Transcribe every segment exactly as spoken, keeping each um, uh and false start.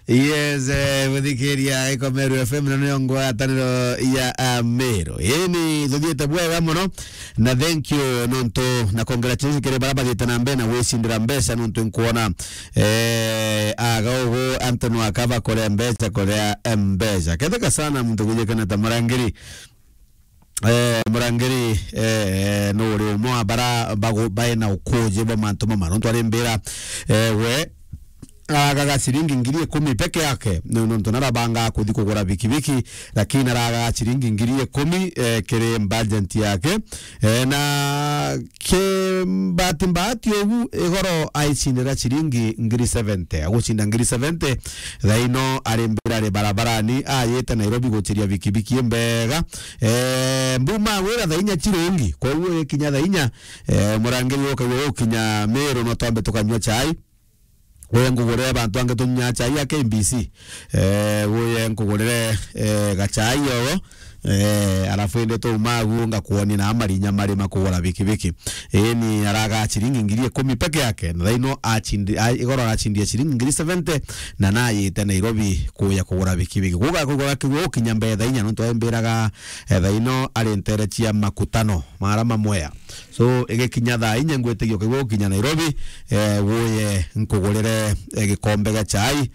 Yes, eh, guthikiria Iko Meru F M na niyo ngwataniro ya, ah, Meru. Ini tuthiite bwega muno, na thank you nontu na congratulations kiri baria bathite na mbere na gwicindira mbeca nontu nkwona, eh, aga ugu antu nwaka bakore mbeca kuria mbeca. Ketheka sana muntu kujikana ta Murangiri. Eh, Murangiri, eh, eh, no uri umwe wa bara bagu-, baina ukuji bwa mantu mama. Nontu ari mbira, eh, we, agaga ciringi ngiri ikumi peke yake. No, nontu narabanga kuthi kugura bikibiki, lakini araga ciringi ngiri ikumi, eh, kiri budget yake. Eh, na ki mbati mbati ugu igoro aicindira ciringi ngiri seventy. Agucinda ngiri seventy, thaino ari mbira ari barabarani, ayite Nairobi guciria bikibiki mbega. Eh, mbuma gwira thaa inya cirungi, koguo ikinya thaa inya, eh, Murangiri ukaigua gukinya Meru no twambe tukanyua chai. Uye nkugurire bantu angi tunyua chai ya K B C. Eh, uye nkugurire, eh, gachai ogo. Eh, alafu indi tuuma agu ngakuonia na marinya mari makugura bikibiki. Ii ni araga ciringi ngiri ikumi peke yake. Na thaino achindi-, a-, igoro arachindie ciringi ngiri seventy na nayite Nairobi kuya kugura bikibiki. Kuga kugura kigwe ukinya mbere thaa inya nontu aimbiraga, eh, thaino ari ntere cia makutano mara mamwea. So, igikinya thaa inya ngwitigia ukaigua gukinya Nairobi, eh, wuye nkugurire, eh, gikombe gia chai,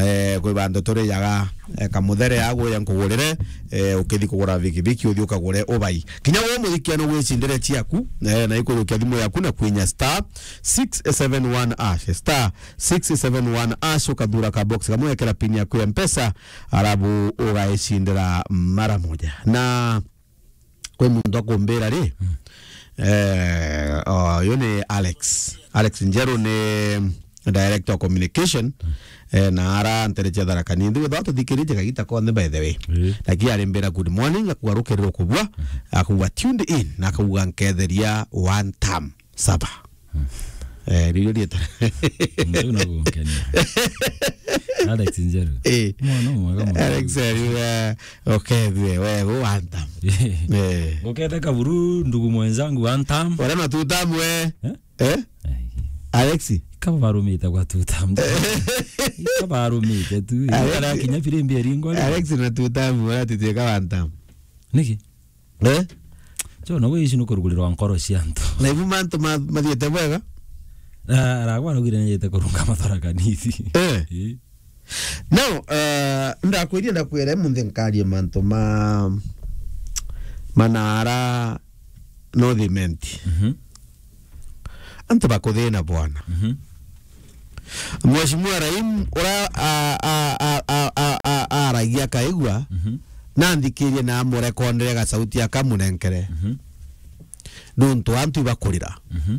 eh, kwi bantu turijaga, eh, kamuthere ya wuye nkugurire, eh, ukithi kugura bikibiki uthi ukagure ubai. Kinya we muthikia no gwicindire ciaku, eh, na ikujukia thimu yaku na kwinya star six seven one hash, star six seven one hash, ukathura ka box kamwe, ekera pin yaku ya Mpesa, arabu ugaicindira mara moja. Na kwi muntu akumbira ri, eh, oh, uyu ni Alex. Alex Njeru ni director of communication, eh, na ara ntere cia Tharaka Nithi. Withwa tuthikiritie kagita konthe, by the way. Ii. Lakini arimbira, "Good morning," akauga, "Rukirirwo kubua," akauga, "Tuned in," na akauga, "Nketheria one time." Saba. Eh, riu rieta. Mtu na gukenia. Alex Njeru. Eh. Mwana mwega muno. Alex, eh, riu, eh, ukethwe, we, gu one time. Eh. Uketheka buru, ndugu mwenzangu, one time. Ora na two time, we. Eh? Eh? Ai. Alex? Kaba barumite gwa two time. Kaba barumite tu. Alex. Kara kinya firimbi eringwa. Alex na two time, ora titwika one time. Niki? Eh? Cho, na gwe ici nukurugurirwa nkoro cia antu. Na ibu mantu ma-, mathiete bwega? Ah, aragwa araugire nijite kurunga mathara kanisi. Eh. Ii. Now, eh, ndakwiria, ndakwira munthi nkarie mantu ma, manara North Imenti. Mhm. Antu bakuthina bwana. Mhm. Mheshimiwa Raim, ura a-, a-, aragia akaigua, mhm, na nthikirie na amurekondere gacauti akamunenkere. Mhm. Nontu antu ibakurira. Mhm.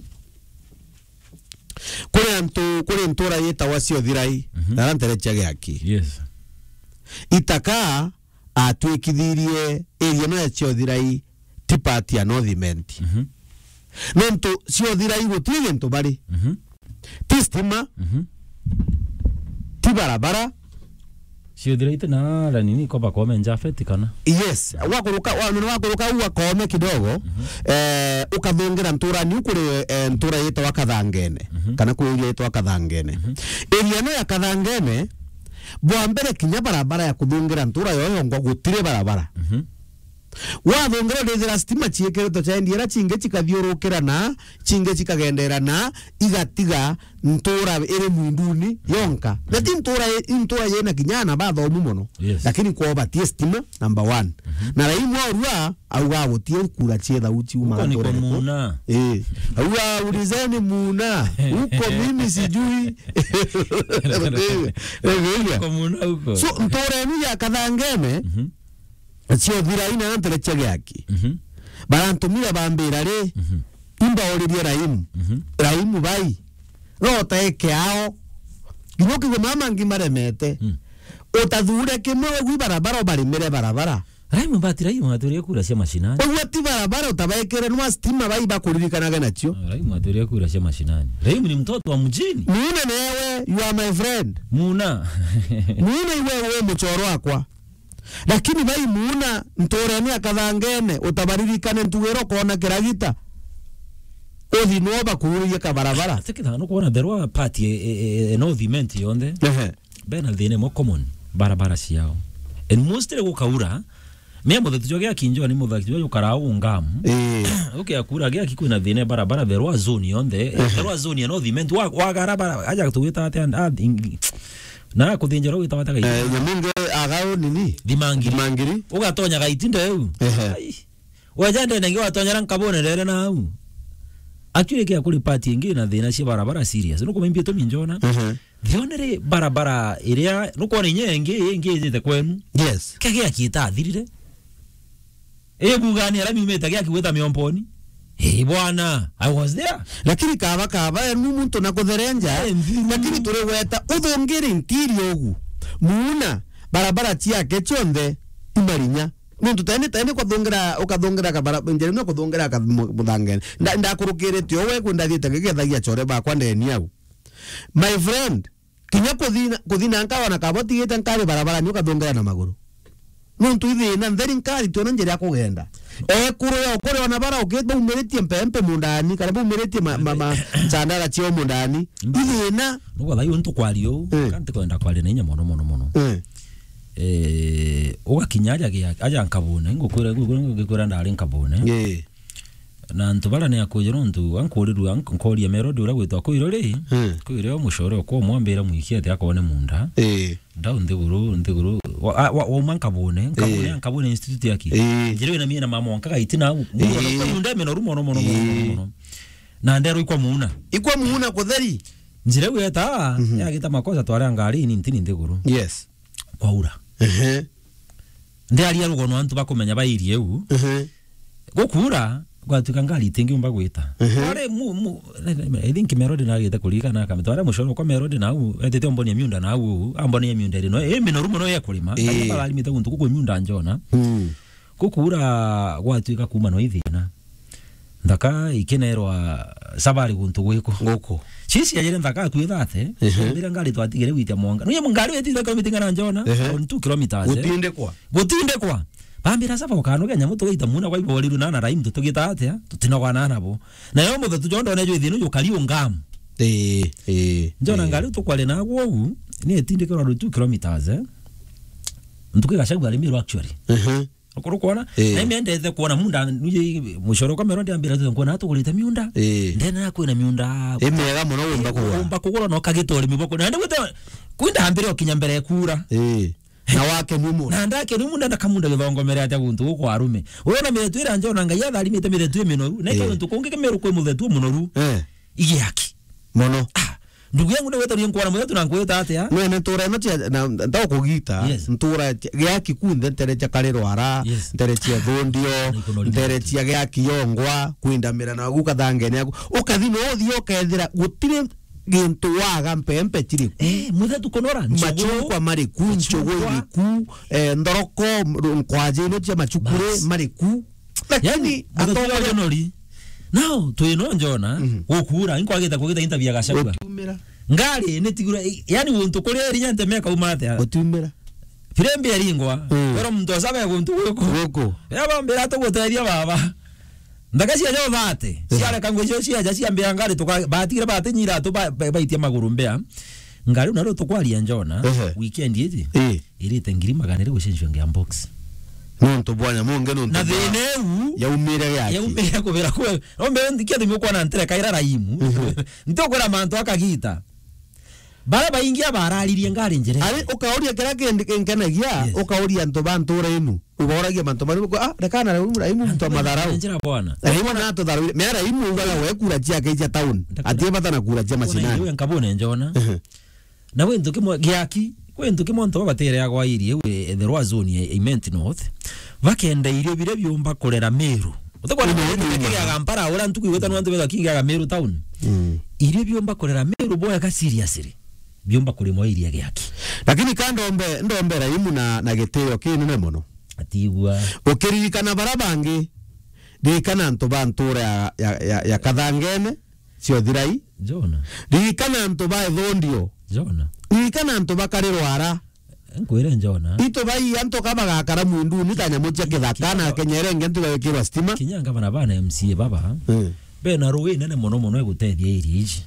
Kuri antu, kuri ntura yitawa Ciothirai, mhm, na ara ntere cia Giaki. Yes. Itaka atwikithirie area no ya Ciothirai ti part ya North Imenti. Mhm. Nontu Ciothirai gutiri gintu bari. Mhm. Ti stima, mhm, ti barabara. Ciothirai ti na ara nini ko bakome Njafeti kana? Yes. Wakuruka, wa-, wakuruka u akome kidogo, mhm, eh, ukathungira nturani u kuri, eh, ntura yitawa Kathangene, mhm, kana kuri area yitawa Kathangene. Mhm. Area no ya Kathangene, bwa mbere kinya barabara ya kuthungira ntura yo yongwa gutiri barabara. Mhm. Wathungira ndithira stima ciikiritwe cia endiera cingi cikathiurukira na, cingi cikagendera na, igatiga ntura iri mwinduni yonka. Na ti ntura i-, ntura yina kinya ana bathomu mono. Yes. Lakini kwao batie stima, number one. Mhm. Na Raim orua, auga gutie kura cia thau ciuma. Huko ni kwa ntura iriku. Muna. Eh. Auga ulizeni Muna. Huko mimi sijui. Kwa Muna huko. So, ntura inu ya Kathangene, mhm, Ciothirai na ntere cia Giaki. Mhm. Barantumire bambira ri, mhm, imbauririe Raim. Mhm. Raim bai. Rota eke ao. Nginya ukigua mama ngi maremete. Mm. Utathure kimwe we gwi barabara ubarimire barabara. Raim bati Raim aturie kura cia mashinani. Uguo ti barabara utabaikire nwa stima bai bakuririkanaga nacio. Ah, Raim aturie kura cia mashinani. Raim ni mtoto wa mjini. Muna newe, you are my friend. Muna. Muna iwe we muchoro wakwa. Lakini bai Muna nturene ya Kathangene, utabaririkane ntugiro kona kiragita. Uthi no bakururirie kabarabara. Ati kitha no kuona the road part e, e, e, e, North Imenti yonthe. Ehe. Bena thina imwe common, barabara ciao. And mostly gukaura, mea muthatu jwa Giaki njo ni muthatu jwa jukara ungam. Eh. Ukia kura Giaki kwina thina barabara, the rwa zone yonthe, eh, the rwa zone ya North Imenti, wa, wagara bara, aja tugwita atia, ah, ingi-, na kuthinjira gwita bata gaiti. Eh, Nyaminge agao nini? Thimangiri. Thimangiri. Ugatonya gaiti ndeu. Ehe. Ai. Waja ndene ngi watonyera nkabone rere nau. Actually, kia kuri party ingi na thina cia barabara serious. Nukumenya itumi njona. Ehe. The only barabara iria nukwona inya ingi, ingi ijite kwenu. Yes. Kia Giaki itathirire. Ii bugani ara miumite Giaki gwita Miomponi. Ii bwana, I was there. Lakini kaba, kaba, enu muntu na kutherenja. Eh, nthiru. Lakini turi gweta uthungiri ntiri ugu. Muuna, barabara ciake cionthe imarinya. Nuntu tene, tene kwathungira, ukathungira kabara, njira imwe kuthungira ka-, mu-, muthangene. Nda-, ndakurukirite o we kwenda thiite ngigethagia chore bakwa ndeni au. My friend, kinya kuthina, kuthina nkawa na kabo tigite nkari barabara ni ukathungira na maguru. Nuntu ithina ntheri nkari tiona njira ya kugenda. Ekuru ya ukuri ona bara ukit baumiritie mpempe mundani, kana baumiritie ma, ma, ma, chandara cio mundani. Ithina. Nugo thai untu kwari u, eh, kanti kwenda kwari na inya mono, mono, mono. Eh. Eh, ugakinya aja gia-, aja nkabune, ngukwira, ngukwira, ngukwira ndari nkabune. Eh. Na antu bara ni akujira untu, ankurirua, ank-, nkoria Melody uria gwitwa kwiro ri, hmm, kwiro mucore okwa mwambira mwiki ati akone munda. Eh. Ndau nthiguru, nthiguru, wa, wa, wa, wauma nkabune, nkabune, eh, nkabune institute yaki. Eh. Njira ina miena mama wanka gaiti nau. Eh. Munda menoru mono, mono, mono, eh, mono, mono. Na ndero ikwa muuna. Ikwa muuna kutheri. Njira iu eta, mhm, yagita makosa twari ngari ni ntini nthiguru. Yes. Kwaura. Ehe. Ndiaria rugono antu bakumenya bairie u. Ehe. Gukura, gwatuika ngari itingiumba gwita. Ehe. Twari mu, mu, I think Melody nagite kuririkana akamita. Twari mucoro kwa Melody nau, etite ombonia miunda nau, ambonia miunda iri no, ii minoru mono ya kurima. Eh. Kana bararimite guntu guku miunda njona. Mm. Gukura gwatuika kuma no ithina. Nthaka ikinerwa sabari guntu gwiku. Guku. Sisi yajire nthaka akui thate, ehe, mbira ngari twatigire gwitia mwanga. Nuye ngari wetithira kilometer ingana njona, ehe, around two kilometers, eh. Gutindikwa. Gutindikwa. Bambira saba ukanoge nyamu tugaita muna kwa iboriru na na raimu tutugita atia, tutinogwa na nabo. Na yo muthetu jondo ne jo ithino jukari ungam. Eh, eh. Njona, eh, ngari tukware na gwo u, ni etindikirwa around two kilometers, eh. Ntuku igacagua ari miru actually. Ehe. Ukuru kwona? Eh. Na imendete kwona munda, nuje mucoro kamera ndiambira tu kwona tugurite miunda. Eh. Ndena kwina miunda. Imega muno wumba kugura. Wumba kugura no kagita urimi boko. Na ndigwita kwinda ambire okinya mbere kura. Eh. Na wake ni munda. Na ndake ni munda na kamunda githongomere atia guntu gukwa arume. Urona miretu ira njona Ngai atharimite miretu iminoru. Na, eh, guntu kungi kimiru kwi muthetu munoru. Eh. Igiaki. Mono. Ah, ndugu yangu, ni wetarie nkwana muthetu na nkwita atia? Nene ntura ino cia, na, ntaukugita, yes, ntura cia, Giaki kunthe, ntere cia Karirwara, yes, ntere cia Thundio, na ikuno rimwe ntere cia Giaki yongwa, kwindamira na guka thangene yaku. Ukathi no uthie ukethira gutiri gintu waga, mpempe chiri ku. Eh, muthetu kunora, nchugu. Machungwa mari ku, nchugu iri ku, eh, nthoroko, nkwaji ino cia machukuri, bas, mari ku. Lakini yani, atongoria nori. Nao, twino njona, mhm, gukura, inkwagita kugita interview ya Gachagua. Gutiumira. Ngari ni tigura, yani guntu kuria iri nyante meka uma atia. Gutiumira. Firimbi eringwa, mm, pero muntu osabe guntu guku. Guku. Ya bambira tugutethia baba. Ndaka cia jo thate, eh, ciareka ngwe cio ciaja ciambia ngari tuka, batigire batinyira tu ba, ba, baitia maguru mbea. Ngari naro tukwaria njona, ehe, weekend iji. Eh. Irite ngiri magana iri gucenjua ngia box. Nontu bwanya mungi nontu na bwa thina iu yaumire Giaki. Yaumire kubira kwe. Ombe ndikia thimi ukwana ntere kaira raimu. Mhm. Ntokwira mantu akagita. Bara baingi abararirie ngari njire. Ari ukauria kira kindi kinkenagia, yes, ukauria antu ba ntura inu. Uboragia mantu mari, ah, rekana raimu, raimu mtu wa matharau. Njira bwana. Raimu na atutharau. Mea raimu ugaga we kura ciake cia town. Ndakana. Atie bata na kura cia mashinani. Iwe nkabone njona. Mhm. Na gwi ntu kimwe Giaki, gwi ntu kimwe antu babatere agwa iri iu, eh, the rwa zone ya Imenti North, bakenda irio biria biumba kurera Meru. Utakwa na Meru, Meru, Meru, kigiaga Mpara, ura ntuku igweta nwantu betha kigiaga Meru town. Mm. Irio biumba kurera Meru boya ka seriously. Biumba kurimwa iria Giaki. Lakini ka ndombe, ndombe raimu na, na gitio kinene mono. Atigua. Ukiririkana bara bangi, ririkana antu ba ntura ya, ya, ya, ya Kathangene, cio thirai. Jona. Ririkana antu ba Ithundio. Jona. Ririkana antu ba Karirwara. Nkwire Jona. Itu bai antu ka bagakara mwinduni ta nyamu cia kithaka na kinya, kenyere nge antu gawikirwa stima. Kinya ngavana bana M C A baba. Mm. Bena ruu inene mono mono egutethia area iji.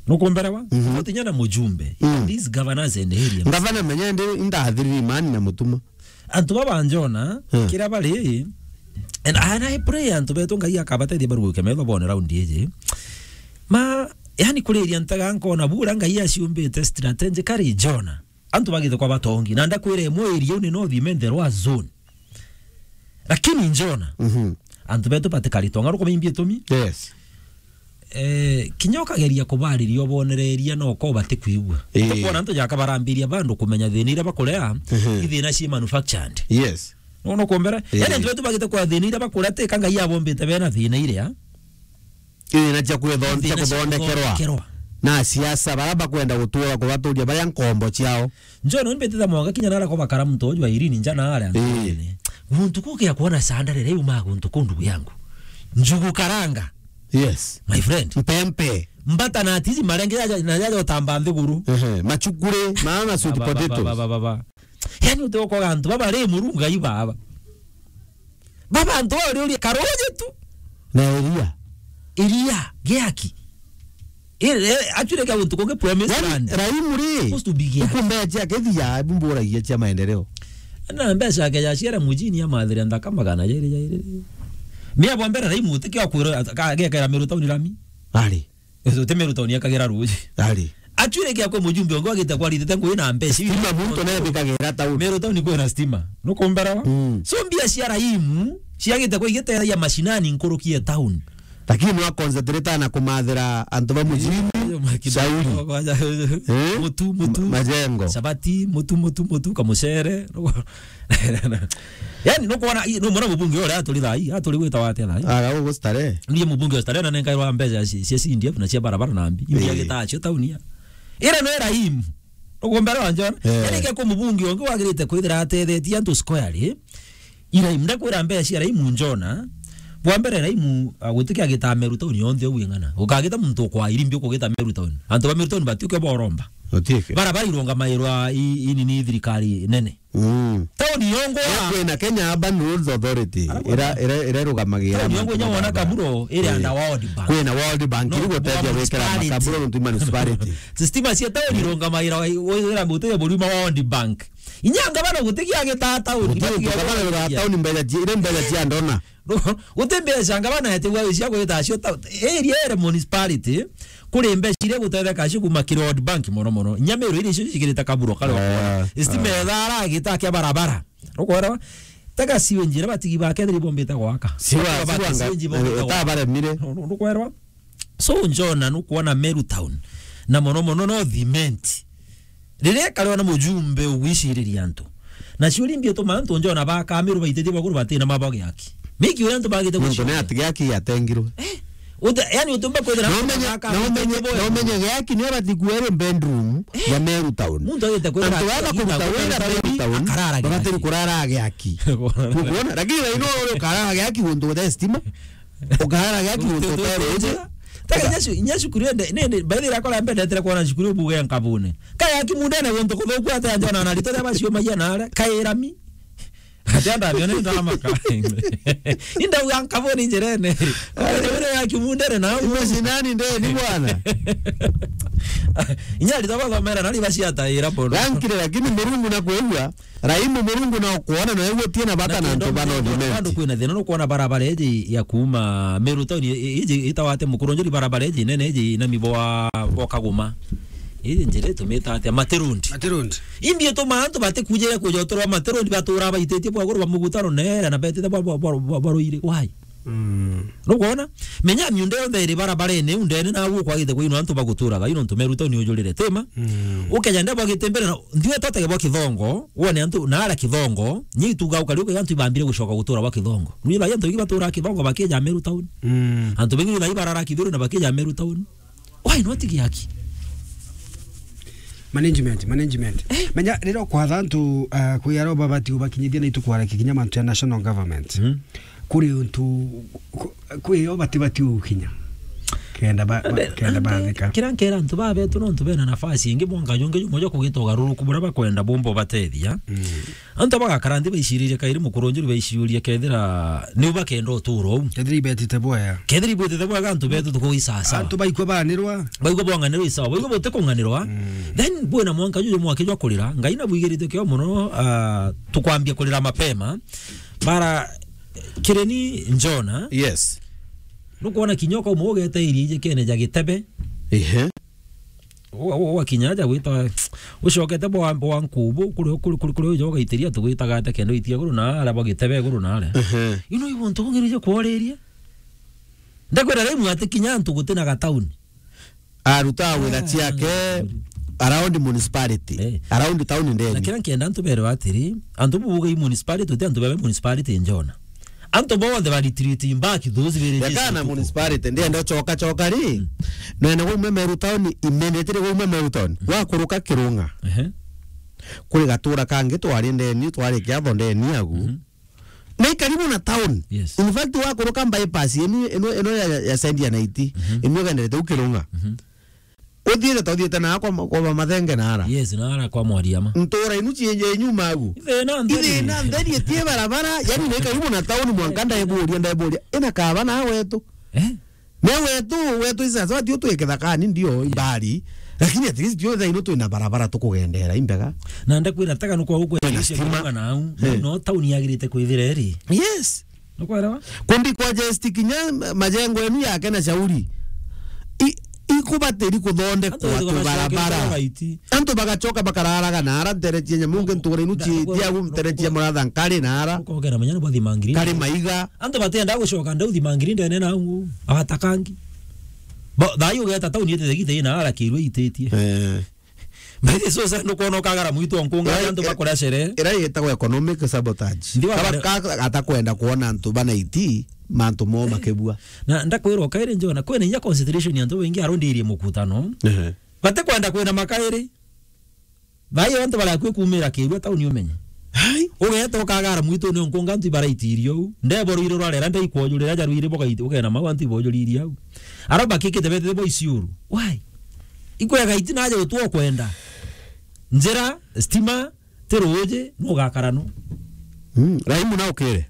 Nukumberewa? Mhm. Tutinya na mujumbe. Mm. These governors and area. Ngavana menya ndi indathiriri mani na mutuma. Antu baba njona, Hmm. kira bari, and, and I pray antu betu Ngai akabateithia baruguke metho bone round iji. Ma, yani kuriria ntaga nkona bura Ngai aciumbite strategically njona. Antu bagite kwa batongi. Na ndakwira imwe area ni no thimente rwa zone. Lakini njona, Mhm. antu betu batikari tonga ruko mimbi itumi. Yes. Eh, kinya ukageria kubariria ubonereria no ko batikwigua. Ii. Tukwona antu jaka barambiria bandu kumenya thina iria bakurea, Mhm. ithina ci manufactured. Yes. No, no kumbere. Ii. Yani antu betu bagite kwa thina iria bakurea ti ka Ngai abombite bena thina iria. Ithina cia kwithon-, cia Thina cia kuthondekerwa. Kuthondekerwa. Na siasa bara bakwenda gutura kubaturia baria nkombo ciao. Njo no mbetitha mwaka kinya nara kwa bakara muntu uju wa Irene nja na aria Ii. ntuene. Guntu kukia kuona sanda rere uma guntu ku ndugu yangu. Njugu karanga. Yes. My friend. Mpempe. Mbata na tiji marenge ya, na ya otamba nthiguru. Ehe, machukure, maana sweet Ba, ba, ba, potatoes. ba, ba, ba, ba. Yani utokoga antu baba ri murunga ibaba. Baba antu ori uri karoje tu. Na iria. Iria, giaki. Ire, actually, kia guntu kungi promise Yaani, land. Raimu ri, Supposed to be giaki. Ikumbeja kethia, bumburagia cia maendeleo. Na mbeca ke ya ciara mujini ya mathira nthaka magana jairi jairi. Mia bwa mbere Raimu utikio kwiro, ka, gekera Meru town rami. Ari. Uti Meru town yakagira ruji. Ari. Actually, kia kwe mujumbe ongo agite kwaritite ngui na mbeca. Stima muntu ne bikagira town. Meru town kwina stima. Nukumbarawa? Mm. So mbia cia Raimu, ciagite kwa igiteria mashinani nkurukie town. Lakini no concentrate na kumathira antu ba mujini, Ayo makina- shauri. Eh? Mutu, mutu. Ma-, majengo. Sabati, mutu, mutu, mutu, kamucere. Yani, nukwona, i-, numwona mubunge uria aturi thai, aturi gwita wate thai. Ara ugu stare. Ndiye mubunge wa stare na nenkairwa mbeca cia, cia C D F na cia barabara na mbi. Iria Eh. gitacio tauni ya. Ira no Raimu. Nukumbere wa Njona. Eh. Yani, ke ku mubunge ungi wagirite kwithira atethetie antu squarely. Iraimu, ndakwira mbeca cia Raimu Njona, bwa mbere Raimu, ah, gutikia gita Meru town yonthe uu ing'ana. Ukagita muntu kwa irimbi ukugita Meru town. Antu ba Meru town batiuke boromba. Utieke. Bara bara irungamairwa i, i nini thirikari nene. Mm. Town yongo ya Kwina Kenya Urban Roads Authority, Ara ira, ira, ira irugamagira town yongo mantu inya ma wona barabara. Kaburo iri Eh. under World Bank. Kwina World Bank, No, iri guteithia gwikira municipality. Makaburo ntu municipality. Stima cia town irungamaira, wira mbutu ya burima World Bank. Inya ngabana gutigia gita town, Gutigia gutigia gita town, gutigia. Town mbeca ci-, ire mbeca cia ndona. Guti mbeca ngabana etigwa cia gwita cio town. Area ere municipality, kuri mbeca iria gutetheka cio kuma kiri World Bank mono mono. Inya Meru iri icio cikirite kaburo kare Ah, okona. Stima ah. ethara gita kia barabara. Nukwera? Tega siwe njira batigi ba kethiri bombite gwaka. Siwa, Baba siwa bati nga-, siwe nji bombite eh, gwaka. Tabaremire. Nu-, nu-, nukwera? So, Njona, nukwona Meru town. Na mono mono no cement. Riria kare ona mujumbe ugwiciriria antu. Na ciuri mbi ituma antu Njona ba Kameru baititie baguru batina mabo giaki. Miki uria antu bagite Muntu ne gucioria. Ati giaki yatengirwe. Eh, uta-, yani utumba kwithira No menye, no menye, no menye giaki ni abati kuere bedroom Eh. ya Meru town. Muntu agite kwithira Antu aba kuruta wira Meru town, akarara babati giaki. Kurara giaki. Nukwona? Lakini ino uri ukarara giaki guntu guthe stima. Ukarara giaki guntu guthe roji. Taka nyacu, nyacu kuri ende, ne, ne, by the way, akora mbendetera kuona cukuru buge nkabune. Kaya kimundene guntu kuthuku ate Njona na rito ria bacio maia na ara, kairami. Ati anda bione ndamaka. Indauga nkabuni njirene. Ore ya kimundene na Imecinani ndeni bwana. Inya rito bathomera na riba ciataira bono. Rankire, lakini Murungu na kwigua, Raimu Murungu na kwona na eguo tiena bata na antu bana Bandu uthimenti. Kwina thina nukwona barabara iji ya kuma Meru town i-, i-, iji itawate Mukurunjuri, barabara iji nene iji na mibo wa, wa Kaguma. Iji njira itumite atia? Materundi. Materundi. Imbi ituma antu batikujire kujotorwa materundi batura baititie bwa guru ba mugutano nera na betite bwa, bwa, bwa, bwa, bwa ruiri. Why? Mm. Nukwona? Menya miunda yonthe iri barabarene, undene na guo kwagite kwinwa antu baguturaga, ino ntu Meru town ni ujurire tima. Mm. Ukeja nde bwagite mbere na, ndiwe totege bwa Kithongo, wone antu na ara Kithongo, nyi ituga ukari uke antu ibambire gucoka gutura bwa Kithongo. Nwi ba antu ingi batura Kithongo bakija Meru town. Mm. Antu bengi na ibarara Kithuru na bakija Meru town. Why not giaki? Management, management. Eh? Menya, riro kwatha antu, ah, kwi aro babati ubakinyithia ni tukwara kikinya mantu ya national government. Mm. Kuri untu, ku-, kwi yo bati bati ukinya. Kenda ba-, ba-, Ande-, kenda ande bathika. Kira nkera antu babetu no antu bena nafasi ingi mwanka jungi jumwe jwa kugita ugaruruku buria bakwenda bumba ubatethia. Mm. Antu bagakara nthi baiciririe kairi mukuru njuri baiciurie kethira ni bakenda uturo uu. Kethira ibetite bwega. Kethira ibwitite bwega antu betu tukuisasa. Antu baikwa banirwa. Baigwa bwang'anirwa isawa. Baigwa butikung'anirwa. Mm. Then bwina mwanka juju mwaki jwa kurira. Ngai nabwigirite kio muno, ah, tukwambia kurira mapema. Bara kireni njona. Yes. Nukwona kinya ukauma ugeta iria ijikene ja gitebe. Ehe. Uga-, uga-, ugakinya aja gwita, ucokete bwa, bwa nkubu, kuri, kuri, kuri, kuri uja ugaitiria tugwitaga ate kenda uitia iguru na aria bwa gitebe iguru na aria. Ehe. You know, ibuntu ungirije kworiria. Ndakwira riu ati kinya antu gutina ga town. Aruta wira Ah, ciake around municipality, Eh. around town Na ndeni. Kira nkenda antu berwe atiri, antu bubuga i municipality, uti antu bebe municipality njona. Antu bonthe ba retreating back those villages Yakana utuku. Municipality, ndienda choka choka ri. Mm. Nene gwe ume Meru town, immediately gwe ume Meru town. Mm. Wakuruka Kirunga. Ehe. Kuri gatura kangi twari ndeni, twari kiatho ndeni agu. Mhm. Na i karibu na town. Yes. In fact, wakuruka bypass, inu, inu, inu ya, ya Saint Anita, Mhm. inu ugenderete u Kirunga. Mhm. Uthiite ta uthiite na kwa, kwa Mathenge na ara. Yes, na ara kwa Mwariama. Ntura inu cienye nyuma agu. Ithina ntheri. Ithina ntheri etie barabara, yani ni karibu na town mwanka ndaeburia, ndaeburia. Ina kaba na wetu. Eh? Me wetu, wetu isasa, tio twi kithakani ndio, imbari. Lakini at least tio thaino twina barabara tukugendera, imbega. Na ndakwira taka nukwa ukwenda Twina icio stima. Kuunga na au. Eh. No town yagirite kwithira iri. Yes. Nukwelewa? Kundi kwa Jesti kinya majengo enu yake na shauri. I, ikubatiri kuthondekwa Antu tu barabara. Antu bagacoka bakararaga na ara ntere cia nyamunge ntura inu Nda-, cia, nda-, cia gu ntere cia muratha nkari na ara. Ukogera manyana bwa thimangiri. Kari maiga. Antu batienda gucoka ndau thimangiri ndene na u. Abatakangi. Bo, thayu ugeta tauni ite thegite ina ara kirwe ititie. Eh. Mbaithe so sa nukwona ukagara mwitu wa nkunga Ira-, antu ira-, bakora sherehe. Ira yetagwa economic sabotage. Ndi wa Kaba kare- ka-, atakwenda kuona antu bana iti, mantu mo makibua. Na ndakwirwa kairi njona, kwina inya consideration ya antu baingi arondirie mukutano. Ehe. Batikwenda kwina makairi. Thayo antu barakue kumira kirua tauni umenye. Hai. Ugeta ukagara mwitu ni nkunga antu ibaraitirio u. Ndeboro iro rwarera ndaikwojurira jarwire bogaiti ugena mau antu ibojuririe au. Ara bakikite betete bo isiuru. Why? Ikwega iti naje utwo kwenda. Njira, stima, ti ruuji, nugakara nu. Mm, Raimu na ukire.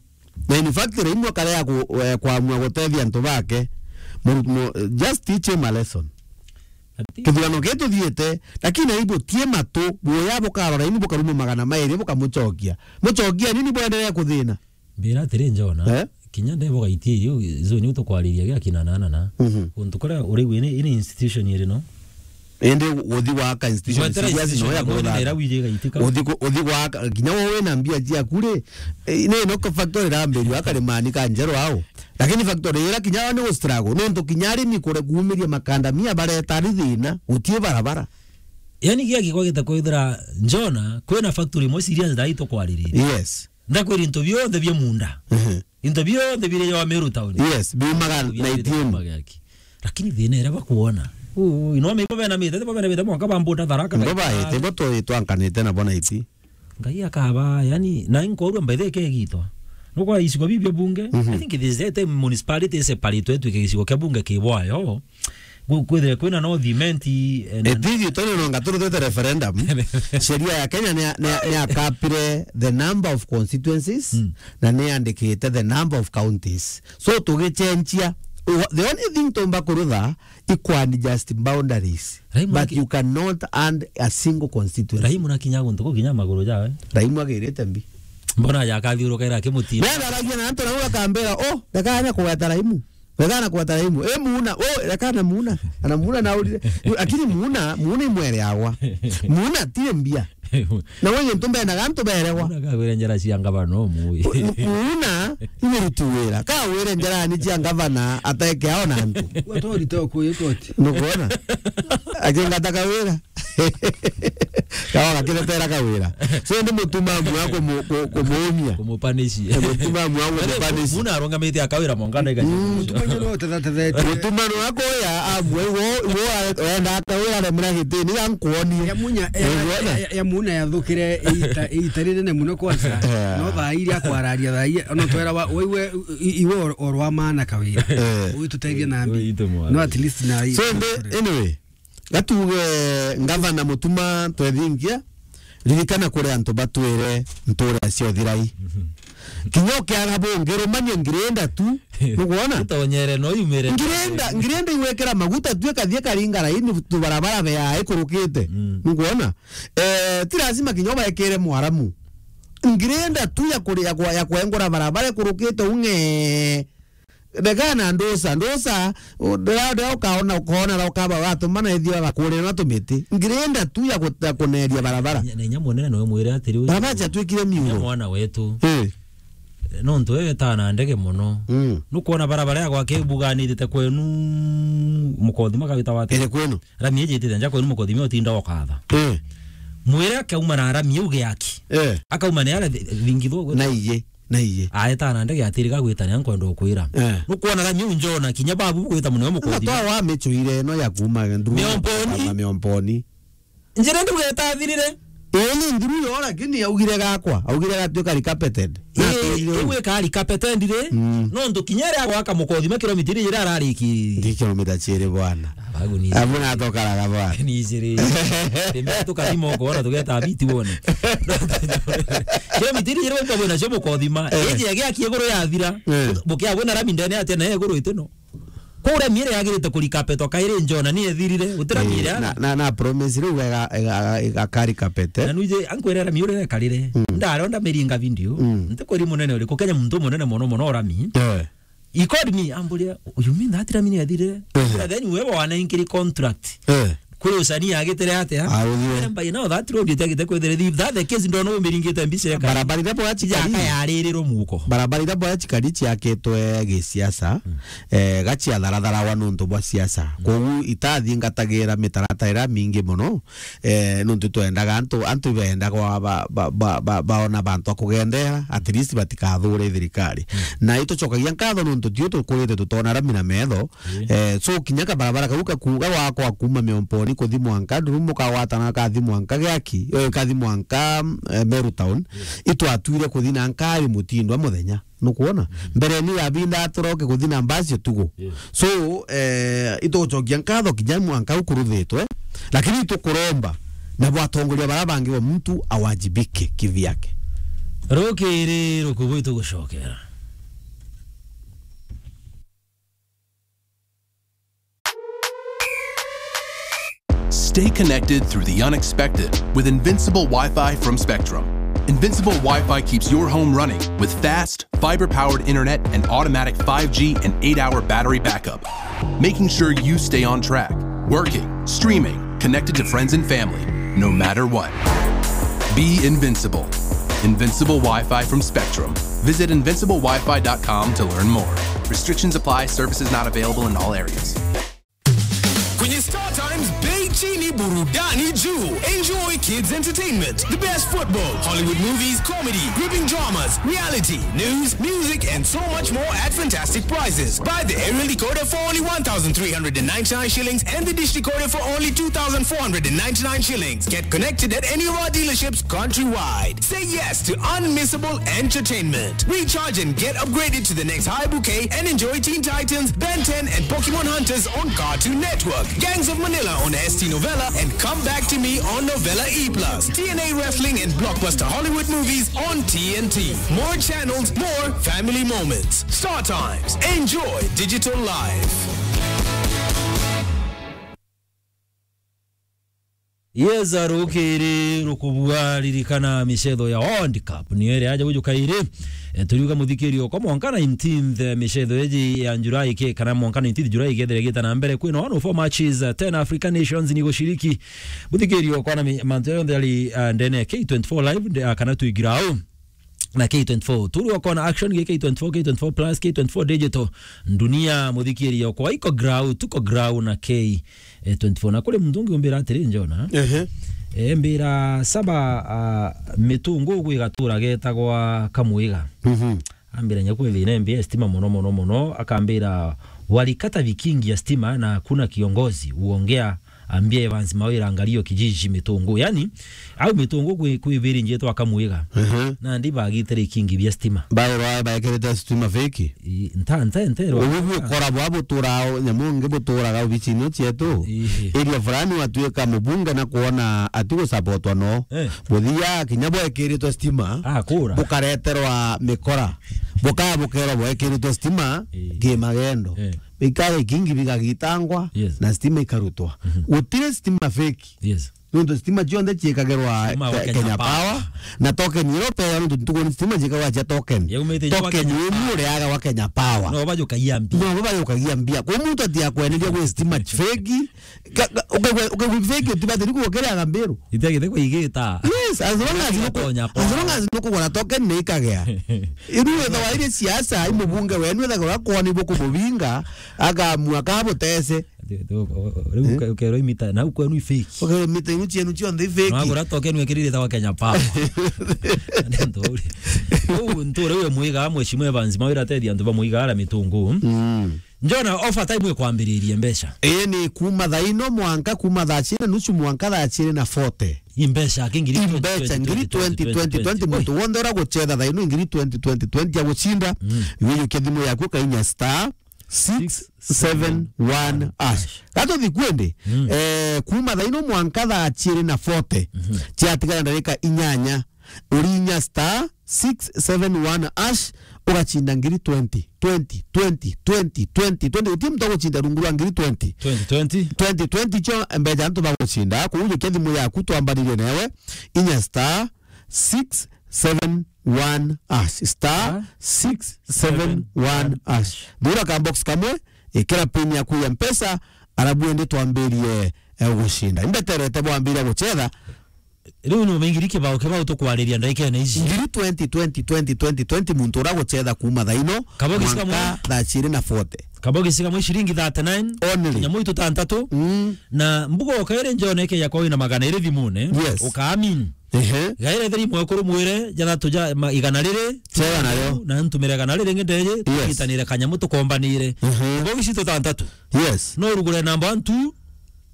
Na in fact, Raimu akarea ku-, eh, kwamua gutethia antu bake. Mu-, mu-, just teach him a lesson. Ati? Kithurano gii tuthiite, lakini aibu tie matu, buya bukarora ini bukaruma magana mairi bukamucokia. Mucokia nini bwenderea kuthina? Mbira atiri njona, Eh? Kinya ndebo gaitie iu, izo ni tukwariria gia kina nana na. Mhm. Untu kuria uri wini, ini institution iri no? Indi uthi gwaka institution Gwetera serious no institution ya no, kuthaka. Nira wije gaitika. Uthi ku-, uthi gwaka, kinya wo wina mbia ciaku ri, eh, ni no ka factory rambirua akarimani ka njero ao. Lakini factory ira kinya ni gu struggle. Nontu kinya arimi kure kuumiria makandamia bareta ari thina, gutie barabara. Yani gia gikwa gita kwithira njona, kwina factory imwe serious ndai tukwaririria. Yes. Ndakwira into bionthe bia munda. Mhm. Into bionthe biri ya Meru town. Yes, biumaga Bionthe na bia itini. Munda gaki. Lakini thina ira bakuona. Uu, ino me bena mite, bena mite mwanka bambuta Tharaka. Ndo baite, bo twi twankanite na bona iti. Ngai akaba, yani, na inkorwa mbaithe ikegitwa. Nukwa icigo bibio bunge, Mhm. I think it is that time municipality is separate, twike gicigo kia bunge ki bwayo. Ku-, kwithire kwina no thimenti, eh, na Etithi toni no ngaturu twete referendum. Sheria ya Kenya ni, ni, ni akapire the number of constituencies, Mm. na ni andikite the number of counties. So tugichenjia, the only thing tumba kurutha, equal and just boundaries. Raimu But aki- you cannot add a single constituency. Raimu nakinya guntu kuu kinya maguru jawe. Raimu agirite mbi. Mbona yakathiuruka ira akimutinda? Nenda aragia na antu nau akambira, "Oh, reka anya kugweta Raimu. Reka na kugweta Raimu. Eh, Muuna, oh, reka na Muuna." Ana Muuna na urire. Lakini Muuna, Muuna imwere agwa. Muuna tire mbia. Na wewe ntu mbendaga antu beregwa. Una kagwire njara cia ngavana no mui. Mu-, Muuna, ni muruti wira. Kagwire njara ni cia ngavana ateke ao na antu. Watori to kuyo toti. Nukwona? Akingata kawira. Kawa gakiretera kawira. So ndi mutuma amwe kumu-, ku-, kumuumia. Kumupanishi. Mutuma amwe kumupanishi. Muna arungamite akawira mongana ika. Mm. Mutuma nyo no tethetethe. Mutuma no akoya amwe wo, wo enda akawira remera gitini ya nkuoni. Ya munya, ya, Niguona? ya, ya, ya muna yathukire ita, ita rinene muno kwanza. Eh. No thaa iria akwararia thaa iria, no twera wa, we, we, i-, iwe or-, orwa maana kawira. Eh. Uyu tuteithie na mbi. Uyu itu mwana. No at least na i-, So, mbe, anyway, gatuge ngavana Mutuma twethingia, ririkana kuri antu batwire ntura cia uthirai. Mhm. Kinya ukiaga bungi, rumania ngirenda tu, nugwona? Itonyere no yumire. Ngirenda, ngirenda iwekera maguta tu ikathie karinga raini tubarabara bea ikurukite. Mm. Nugwona? Eh, ti lazima kinya ubaekere mwaramu. Ngirenda tu ya kuri-, ya kwa-, ya kwengura barabara ikurukite ung'e. Regana ndusa, ndusa, u-, ndira-, ndira ukaona, ukaona ra ukaba watumana ithio agakurira na tumiti. Ngirenda tu ya ku-, ya kuneria barabara. Na inya munene no mwire atiri, barabara ciatwikire miuro. Mwana wetu. Eh. Nontu wewe tana ndege muno. Mm. Nukwona barabara ya gwake ibuganirite kwenu mukothima kawita wate. Iri kwenu. Rami ijitite nja kwenu mukothima utinda ukatha. Eh. Mwire akauma na rami iu giaki. Eh. Akauma ni ara thi-, thingitho. Na iye. Na iye. Aeta na ndege atiri gagwita ni ankwenda ukwira. Eh. Nukwona rami u njona kinya babu gwita muno mukothi. Twa wa michuire no ya kuma nduru. Miomponi. Na miomponi. Njira ndu geta thirire. Ii ni nduru yo, lakini augire gakwa. Augire gatuika recapitated. Na ii, akwirire uu. Iwe ka recapitated ri. Mm. No ndu kinya ria gwaka mukothi ma kilomita iri ira arariki. Ndi kilomita ciiri bwana. Abagu ni. Abu na tokaraga bwana. Ni ijiri. Rimwe tukathima ukona tugeta biti wone. Kilomita iri ira ukabona cio mukothima. Eh. Iji ya giaki iguru yathira. Eh. Bukia bona rami ndene atia na iguru itino. Kuria miere yagirite kurikapetwa kairi njona ni ethirire. Gutira Eh, miere na, ana. Na, na promise riu ega, ega, ega karikapete. Na nuje ankwirera miure karire. Mm. Ndaronda miringa video. Mm. Ntikwiri munene uriku Kenya muntu munene muno muno urami. Eh. He called me, amburia, "You mean that Rami ni athirire?" Eh. And then wewe wanainkiri contract. Eh. Kuri usanii agitire atia? Ah, uthire. By now that road itagite kwithire. If that the case, ndona umiringite mbica eka. Barabara iria bwa Chikari. Yaka yaririro muko. Barabara iria bwa Chikari ciakitwe gisiasa, Mm. eh, gaciatharatharawa nontu bwa siasa. Mm. Kogu itathingatagira mitaratara iria mingi muno, eh, nontu twendaga antu, antu ibendaga ba, ba, ba, ba, baona bantu a kugendera, at least batikathure thirikari. Mm. Na itucokagia nkatho nontu tio tukurite tutona rami na metho, Eh, so kinya kabarabara kau kaku-, gagwakwa kuma Miomponi kuthi mwanka, nduru mukagwatana kathi mwanka Giaki, eh, kathi mwanka, eh, Meru Town, itwatwire kuthi na nkari mutindwa muthenya. Nukwona? Mbere ni yabinda atoroke kuthi na mbasi utugu. So, eh, itugucokia nkatho kinya mwanka ukuruthitwe, lakini itukuromba na bwatongoria bara bangi bo muntu awajibike kivyake. Rukiri rukubu itugucokera. Stay connected through the unexpected with Invincible Wi-Fi from Spectrum. Invincible Wi-Fi keeps your home running with fast, fiber-powered internet and automatic five G and eight-hour battery backup, making sure you stay on track, working, streaming, connected to friends and family, no matter what. Be invincible. Invincible Wi-Fi from Spectrum. Visit invincible wi fi dot com to learn more. Restrictions apply. Services not available in all areas. Kwenye Star Times, bei chini, burudani juu. Enjoy kids entertainment, the best football, Hollywood movies, comedy, gripping dramas, reality, news, music, and so much more at fantastic prices. Buy the aerial decoder for only one thousand three hundred and ninety-nine shillings and the dish decoder for only two thousand four hundred and ninety-nine shillings. Get connected at any of our dealerships countrywide. Say yes to unmissable entertainment. Recharge and get upgraded to the next high bouquet and enjoy Teen Titans, Ben ten, and Pokemon Hunters on Cartoon Network, Gangs of Manila on S T Novella, and Come Back to Me on Novella E plus, T N A Wrestling and blockbuster Hollywood movies on T N T. More channels, more family moments. Star Times. Enjoy digital life. Yes, arukiri rukubua ririkana micetho ya World Cup. Niyo iri aja gujuka iri. E, turiuga muthikiri okwa mwanka nineteenth, e, micetho iji ya July ke, kana mwanka nineteenth July ikethira igita na mbere. Kwina one oh four matches, e, ten African nations ni gushiriki. Muthikiri okwa na mi-, mantu yonthe ari, a, ndene ya K twenty-four live, nde-, a, kana twigirao. Na K twenty-four. Turi okona action gi K twenty-four, K twenty-four plus, K twenty-four digital. Dunia muthikiri okwa iko grau, tuko grau na K, e, twenty-four. Na kuri muntu ungi umbira atiri, Njona. Ehe. Embira saba, ah, mitungu gwi gatura getagwa Kamwiga. Mhm. Ambira nyaku ethina embia stima mono, mono, mono. Akambira, "Walikata vikingi ya stima na hakuna kiongozi uongea, ambia Evans Mawira angalio kijiji mitungu." Yani, au mitungu kwi, kwi viri njetwa Kamwiga. Mhm. Na ndi bagitire ikingi bia stima. Bairwa baikirite stima fake? I, nta, nta, nta, Ubu bukora bwa butura nyamu ngi buturaga obicini cietu. Ii. Area fulani watuika mubunge na kuona ati gusapotwa no. Eh. Buthia kinya bwekiritwe stima. Ah, kura. Bukareterwa mikora. Bukaya bukerwa bwekiritwe stima. Ii. Kimagendo. Eh. Bikaga ikingi bigagitangwa. Yes. Na stima ikarutwa. Mhm. Gutire stima fake. Yes. Nontu stima cionthe ciikagirwa Stima wa Ke-, Kenya Kenya Power. Power. Na token iria upewa nontu ntuku ni stima ciikagwa cia token. Yaumite inya wa Token Kenya inu Power. Ureaga wa Kenya Power. No bajukagia mbia. No bajukagia mbia. Kwa muntu atiakweneria gwi stima fake. Ka-, ka-, ukaigua, ukaigua fake utibati ni kuokereaga mbiru. Itiagite kuigita. Yes, as long as Itiagite nuku-, Kenya Power. As long as nukugura token ni ikagea. Iru wethawa iri siasa, i mubunge wenu ethagirwa kwona ibukumubinga, akamua kabutese. Ati, ati, o-, o-, o-, riu Eh? uke-, ukerwa imita, na ukwenu i fake. Ukerwa imita inu cienu cionthe i fake. Nagura token wekirire ta wa Kenya Power. Ndio uri. Uu nture uyo mwiga, Mheshimiwa Evans Mawira atethi antu ba mwiga ara mitungu. Mm. Njona offer time ikwambiririe mbeca. Ii ni kuma thaa ino mwanka kuma thaa ciiri na nusu mwanka thaa ciiri na forty. I mbeca aki ngiri I twenty, mbeca twenty, ngiri twenty, twenty, twenty, twenty, twenty. Muntu wonthe ura gucetha thaa ino ngiri twenty, twenty, twenty ya gucinda. Mm. Wijukia thimu yaku ukainya star six seven one hash. Gatuthi kwendi, Mm. eh, kuma thaa ino mwanka thaa ciiri na forty, Mhm. ciatigara ndarika inyanya, urinya star six seven one hash, ugacinda ngiri twenty, twenty, twenty, twenty, twenty, twenty. Guti muntu agucinda rungu rwa ngiri twenty. Twenty twenty. Twenty twenty cio mbeca antu bagucinda, kuujukia thimu yaku twambaririe newe, inya star six seven one hash, star six seven one hash. Thura ka box kamwe, ikira pin yaku ya Mpesa, arabu ende twambirie, eh, gucinda. Imbeterete bwambiria gucetha. Riu ni umingiri kibao, kibao tukwariria ndagikene ici. Ngiri twenty, twenty, twenty, twenty, twenty, muntu ura gucetha kuma thaa ino, Kabogi mwanka kamwe. Thaa ciiri na forty. Kabogi kamwe ciringi thirty-nine. Only. Nyamu itu tantatu. Mm. Na mbuga ukaire njone ke yakwa wina magana iri thimune. Yes. Ukaamini. Ehe. Gaire thiri mwekuru mwire, jathatu ja ma-, igana riri. Cega nayo. Na ntumire igana riri ngi ndeje, Yes. tukitanire kanyamu tukombanire. Mhm. Mbogi citu tantatu. Yes. No urugure namba one, two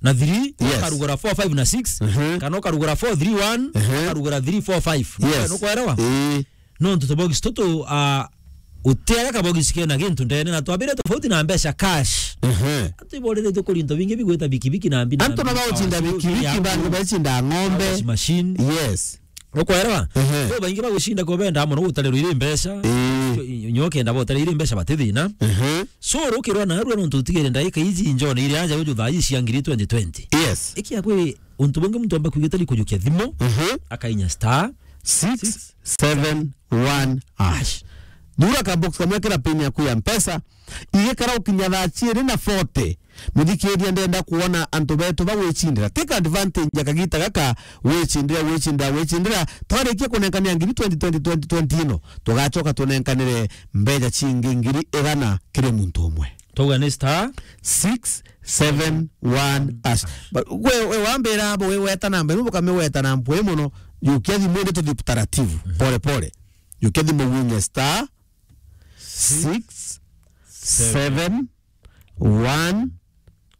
na three, Yes. ukarugura four, five na six, Mhm. kana ukarugura four three one, Mhm. ukarugura three four five. Yes. Nukwelewa? Ii. Nontu tubox tutu, ah, utiaga kabox kena gintu ndene, na twambire tofauti na mbeca cash. Ehe. Antu iboreretwe kuri into bingi bigwita bikibiki na mbi na Antu mbi, na bagucinda power bikibiki, ya bantu ku-, bacinda ng'ombe. Washing machine. Yes. Ukwelewa? Ehe. Kwa baingi bagucinda kwa benda mono gutarirwa iri mbeca. Ii. Nyo-, nyo kenda botarirwa iri mbeca bati thina. Ehe. So, rukirwa narua nontu utigere ndaika iji njone iri aja uju thaa iji cia ngiri twenty twenty. Yes. Iki akwi untu bungi muntu amba kwigita ni kujukia thimu, Mhm. akainya star six seven one hash. Thura ka box kamwe kira pin yaku ya Mpesa, igikara ukinya thaa ciiri na forty. Muthikiria, ndenda kuona antu betu bagwicindira. Take advantage ya kagita gaka, wicindira, wicindira, wicindira. Twarikia kunenkania ngiri twenty, twenty, twenty, twenty ino, tugacoka tunenkanire mbeca cingi ngiri igana kiri muntu umwe. Twauga ni star six seven one hash. But we, we wambira abo, we weta namba ino, bukame weta namba ii mono, jukia thimu indi tuthi taratibu, Mhm. pole pole. Jukia thimu winye star six seven one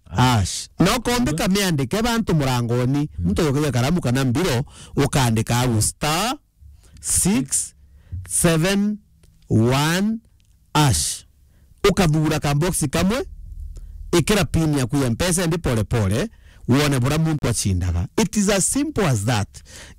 hash. No kombe kamiandike bantu murangoni, Mhm. muntu yukagia karamu kana mbiro, ukandika au star six seven one hash. Ukathura ka box kamwe, ikira pin yaku ya Mpesa, ende pole pole, wone bura muntu acindaga. It is as simple as that.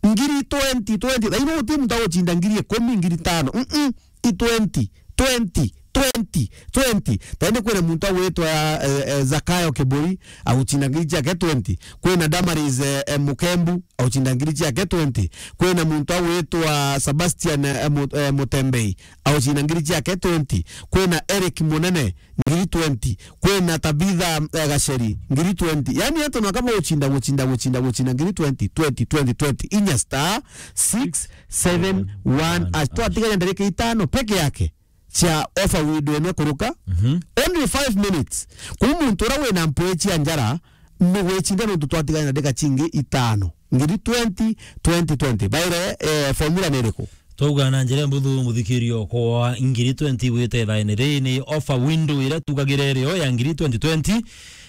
Ngiri twenty, twenty, thaino uti muntu agucinda ngiri ikumi, ngiri tano. Mm-mm. I twenty, twenty, twenty, twenty. Tende kwina muntu agwitwa, eh, eh, Zakayo Kiburi, agucinda ngiri ciake twenty. Kwina Damaris, eh, eh, Mukembu, agucinda ngiri ciake twenty. Kwina muntu agwitwa Sebastian, eh, Mu-, eh, Mutembei, agucinda ngiri ciake twenty. Kwina Eric Munene, ngiri twenty. Kwina Tabitha, eh, Gaceri, ngiri twenty. Yani, antu no kaba gucinda, gucinda, gucinda, gucinda, ngiri twenty, twenty, twenty, twenty. Inya star six seven one hash. Twatigania ndarika itano peke yake cia offer window ino kuruka. Mhm. Only five minutes. Kuu muntu uria wina mpwi cia njara, ni gwicinda nontu twatigania ndarika cingi itano. ngiri twenty, twenty twenty. Baire, eh, formula ni iriku? Twauga na njira mbuthu, muthikirio kwa ngiri twenty gwite thaene ri ni offer window iria tugagira irio ya ngiri twenty twenty.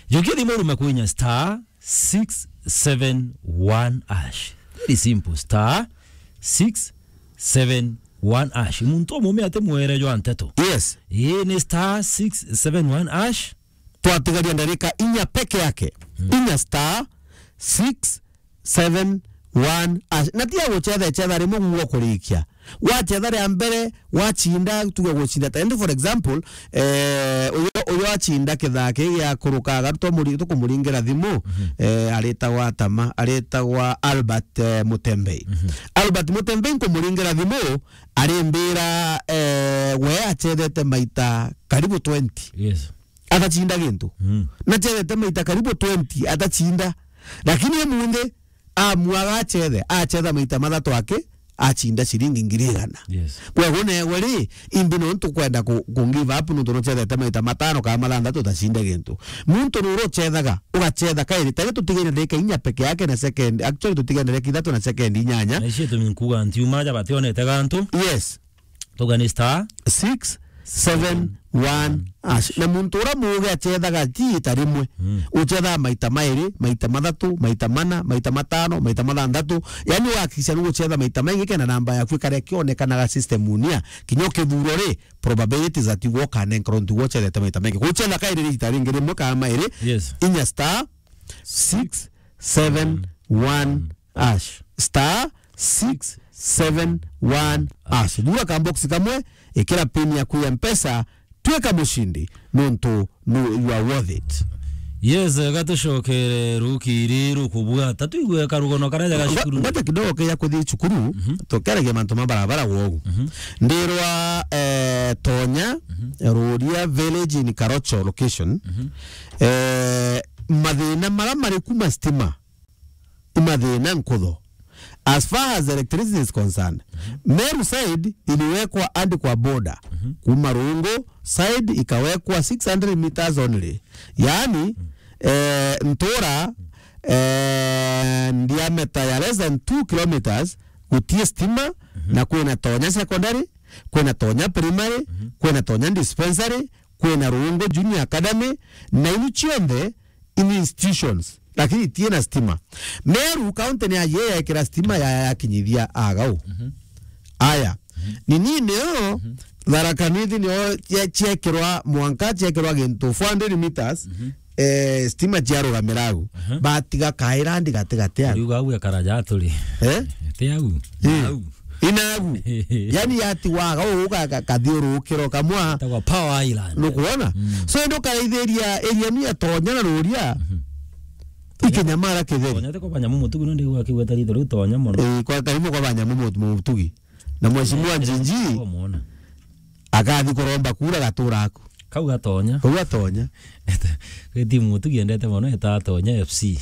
Jukia thimu urume kwinya star six seven one hash. Very simple, star six seven one hash. Muntu umume ati mwere jwa nteto. Yes. Ii ni star six seven one hash. Twatigaria ndarika inya peke yake. Mm. Inya star six seven one hash. Na ti ya gucetha ecetha rimwe guo kurikia. Wacetha ria mbere, wacinda, tuge gucinda ta, and for example, eh, uyo, uyo acinda kithaa kii gia kurukaga, tumuri-, tukumuringira thimu, mhm, eh, aritagwa Tama, aritagwa Albert, eh, Mutembei. Mhm. Albert Mutembei nkumuringira thimu, arimbira, eh, we acethete maita karibu twenty. Yes. Atacinda gintu. Mm. Na acethete maita karibu twenty, atacinda. Lakini umunthi, amua agacethe, acetha maita mathatu aki, acinda ciringi ngiri igana. Yes. Kwegwo negwe ri, imbi nontu kwenda ku, ku give up nontu nucethete maita matano kana mathanthatu utacinde gintu. Muntu nuru ucethaga, ugacetha kairi, tari tutigaire ndagika inya peke yake na second, actually tutigaire ndagika ithatu na second inyanya. Na icio itumi nkuga ntiuma aja bationete gantu. Yes. Tuga ni star six seven one hash. Na muntu uria muuge acethaga ti ita rimwe. Mm. Ucethaga maita mairi, maita mathatu, maita mana, maita matano, maita mathanthatu. Yani ugakikisha ni gucetha maita maingi kenda namba yaku ikare ikionekanaga system unia. Kinya ukithurwa ri, probabilities that you walk and encroach ntugo ucethete maita maingi. Gucetha kairi ita ringi rimwe kana mairi. Yes. Inya star six seven one hash. Star six seven one hash. Thura ka box kamwe, ikira pin yaku ya Mpesa, twika mucindi, nontu nu, you are worth it. Yes, gatucokere rukiri rukubwata, tuigue karugono karia jaga cukuru. Ngoja kidogo keja kuthi cukuru, mhm, tukeragia mantu ma barabara wogu. Mhm. Ndirwa, eh, Tonya, mhm, Ruria village in Karocho location. Mhm. Eh, mathina mara mari kuma stima. Imathina nkutho. As far as electricity is concerned, mhm, Meru side iliwekwa hadi kwa border. Mhm. Kuma Rungu side ikawekwa six hundred meters only. Yani, mhm, eh, ntura, eh, diameter ya less than two kilometers gutie stima, mhm, na kwina Tonya secondary, kwina Tonya primary, mhm, kwina Tonya dispensary, kwina Rungu Junior Academy, na iu cionthe in institutions, lakini itina stima. Meru county ni aye yaikira stima ya, yakinyithia agau. Mhm. Aya. Mhm. Nini nio, mhm, Tharaka Nithi nio cie-, ciekirwa mwanka, ciekirwa gintu four hundred meters, mhm, eh, stima ciarugamira au. Mhm. Batiga kaira ndi gati gati au. Riu au ekara ja turi. Eh? Ti au. Eh. Au. Inagu. Yani yatiwaga uu ka-, ka-, kathiurukiro kamwa. Etagwa Power Island. Nukwona? Mm. So, ndukaraithiria area ni ya Tonya na Ruria. Mhm. Ikinyamara kitheri. Tonya ti kwa banyamu mutugi, no ndigua akiuga ta rito riu Tonya mono. Eh, kwa karibu kwa banyamu mut-, mutugi. Na mheshimiwa, eh, Njinji, wamwona, akathi kuromba kura gatura aku. Kau gatonya. Kau gatonya. Gwi timu tugiendete mono eta Tonya F C.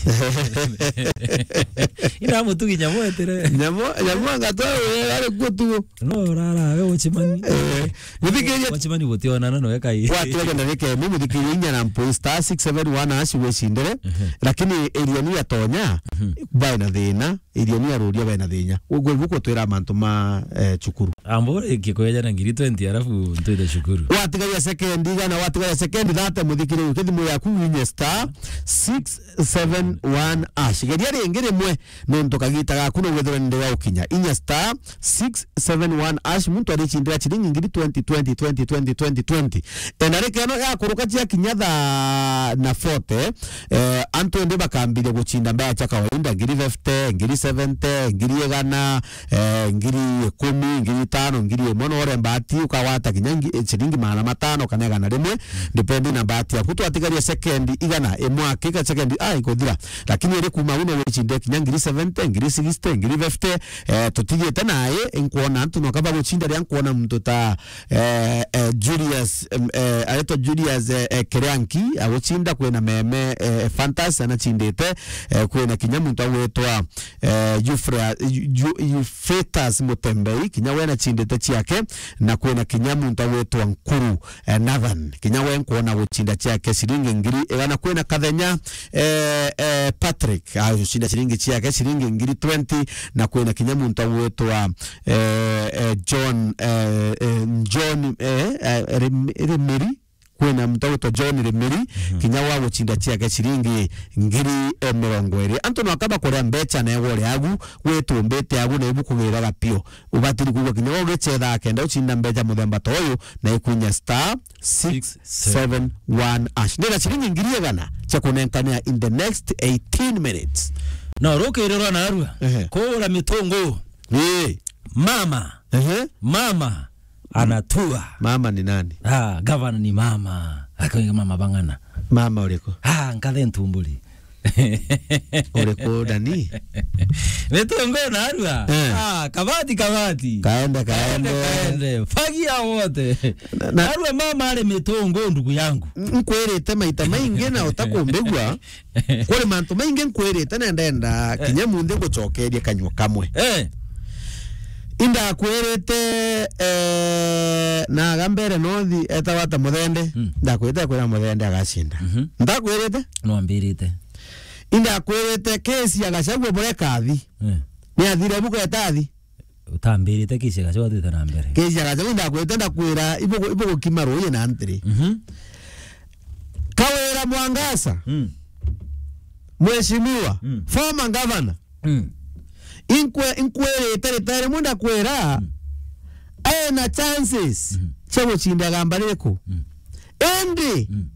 Ina mutugi nyamu etire. Nyamu, nyamu angatwa we ari kuo tu. No, rara, we Ochimani. Eh, muthikiria. Ochimani gutionana no ekai. Watu wenda reke, mu muthikiria inya na mpu star six seven one hash wicindire. Mhm. Lakini area ni ya Tonya, mhm, bai na thina. Irioni aruria bena thinya. Uguo ibu kutwira mantu ma, eh, cukuru. Ambo ikikweja na ngiri twenty, alafu ntwite cukuru. Watigaria sekendi igana, watigaria sekendi thirty, muthikiriria, uke thimu yaku winye star six seven one hash. Geria ringi rimwe, nontu kagita gaku no withirwe ndi wa ukinya. Inya star six seven one hash, muntu aricindira ciringi ngiri twenty, twenty, twenty, twenty, twenty, twenty. Ena reke eno yakuruka cia kinya thaa na forty, eh, antu indi bakambiria gucinda mbea cia kawaida, ngiri fifty, ngiri seventy, ngiri igana, eh, ngiri ikumi, ngiri itano, ngiri imwe. No uremba ati ukagwata kinya ngi-, eh, ciringi magana matano kana igana rimwe, depending na bahati yaku. Twatigaria sekendi igana, imwe akika sekendi, ah, ikuthira. Lakini iri kuma uno wicinde kinya ngiri seventy, ngiri sixty, ngiri fifty, eh, tutigite naye, nkwona antu no kaba gucinda ria nkwona muntu ta eh, eh, Julius, em, eh, aretwa Julius, eh, eh, Kerianki, agucinda, kwina Meme, eh, Fantas anacindite, eh, kwina kinya muntu agwitwa, eh, Eufra-, Ju-, Ju-, Euphratus Mutembei, kinya we anacindite ciake, na kwina kinya muntu agwitwa Nkuru, eh, Nathan. Kinya we nkwona gucinda ciake ciringi ngiri igana. Kwina Kathenya, eh, eh, Patrick, agucinda ciringi ciake ciringi ngiri twenty, na kwina kinya muntu agwitwa, eh, eh, John, eh, eh, John, eh, eh, Rim-, Rimiri. Kwina muntu agwitwa John Rimiri, mhm, kinya wa gucinda ciake ciringi ngiri, eh, mirongo iri. Antu no akaba kuria mbeca na igwa uri agu, witumbite agu na ibukugira gapio. Ubatiri kuigua kinya ugicetha akenda ucinda mbeca muthemba ta uyu, na ikwinya star six seven one hash. Ndina ciringi ngiri igana cia kunenkanira in the next eighteen minutes. No, rukiri rwa narua. Ehe. Kuura mitungu. Ii. Mama. Ehe. Mama anatua. Mama ni nani? Ah, gavana ni mama. Akoiga mama bang'ana. Mama uriku? Ah, nkathe ntumburi. Uriku ndani? Mitungu narua. Eh. Ah, kabati, kabati. Kaende, kaende. Kaende, kaende. Fagia wote. Na, na narua mama ari mitungu, ndugu yangu. N-, nkwirite maita maingi na utakumbigua. Kuri mantu maingi nkwirite na ndenda kinya munthi ngucokerie kanyua kamwe. Eh. Indakwirite, eh, na aga mbere nothi etagwa ta Muthende. Mm. Ndakwirite kwira Muthende agacinda. Mhm. Ndakwirite? Nwambirite. Indakwirite kesi ya Gachagua bureka athi. Eh. Ni athire buku etathi. Utambirite kesi ya Gachagua twite na mbere. Kesi ya Gachagua indakwirite ndakwira ibugu-, ibugukima ruuji na ntiri. Mhm. Kawira Mwangaza. Mm. Mheshimiwa, mm, former governor. Mm. Inkwe-, inkwirite rita rimwe ndakwira, mm, ena chances, mm, cia gucinda igamba ririku. Mm. Indi, mm,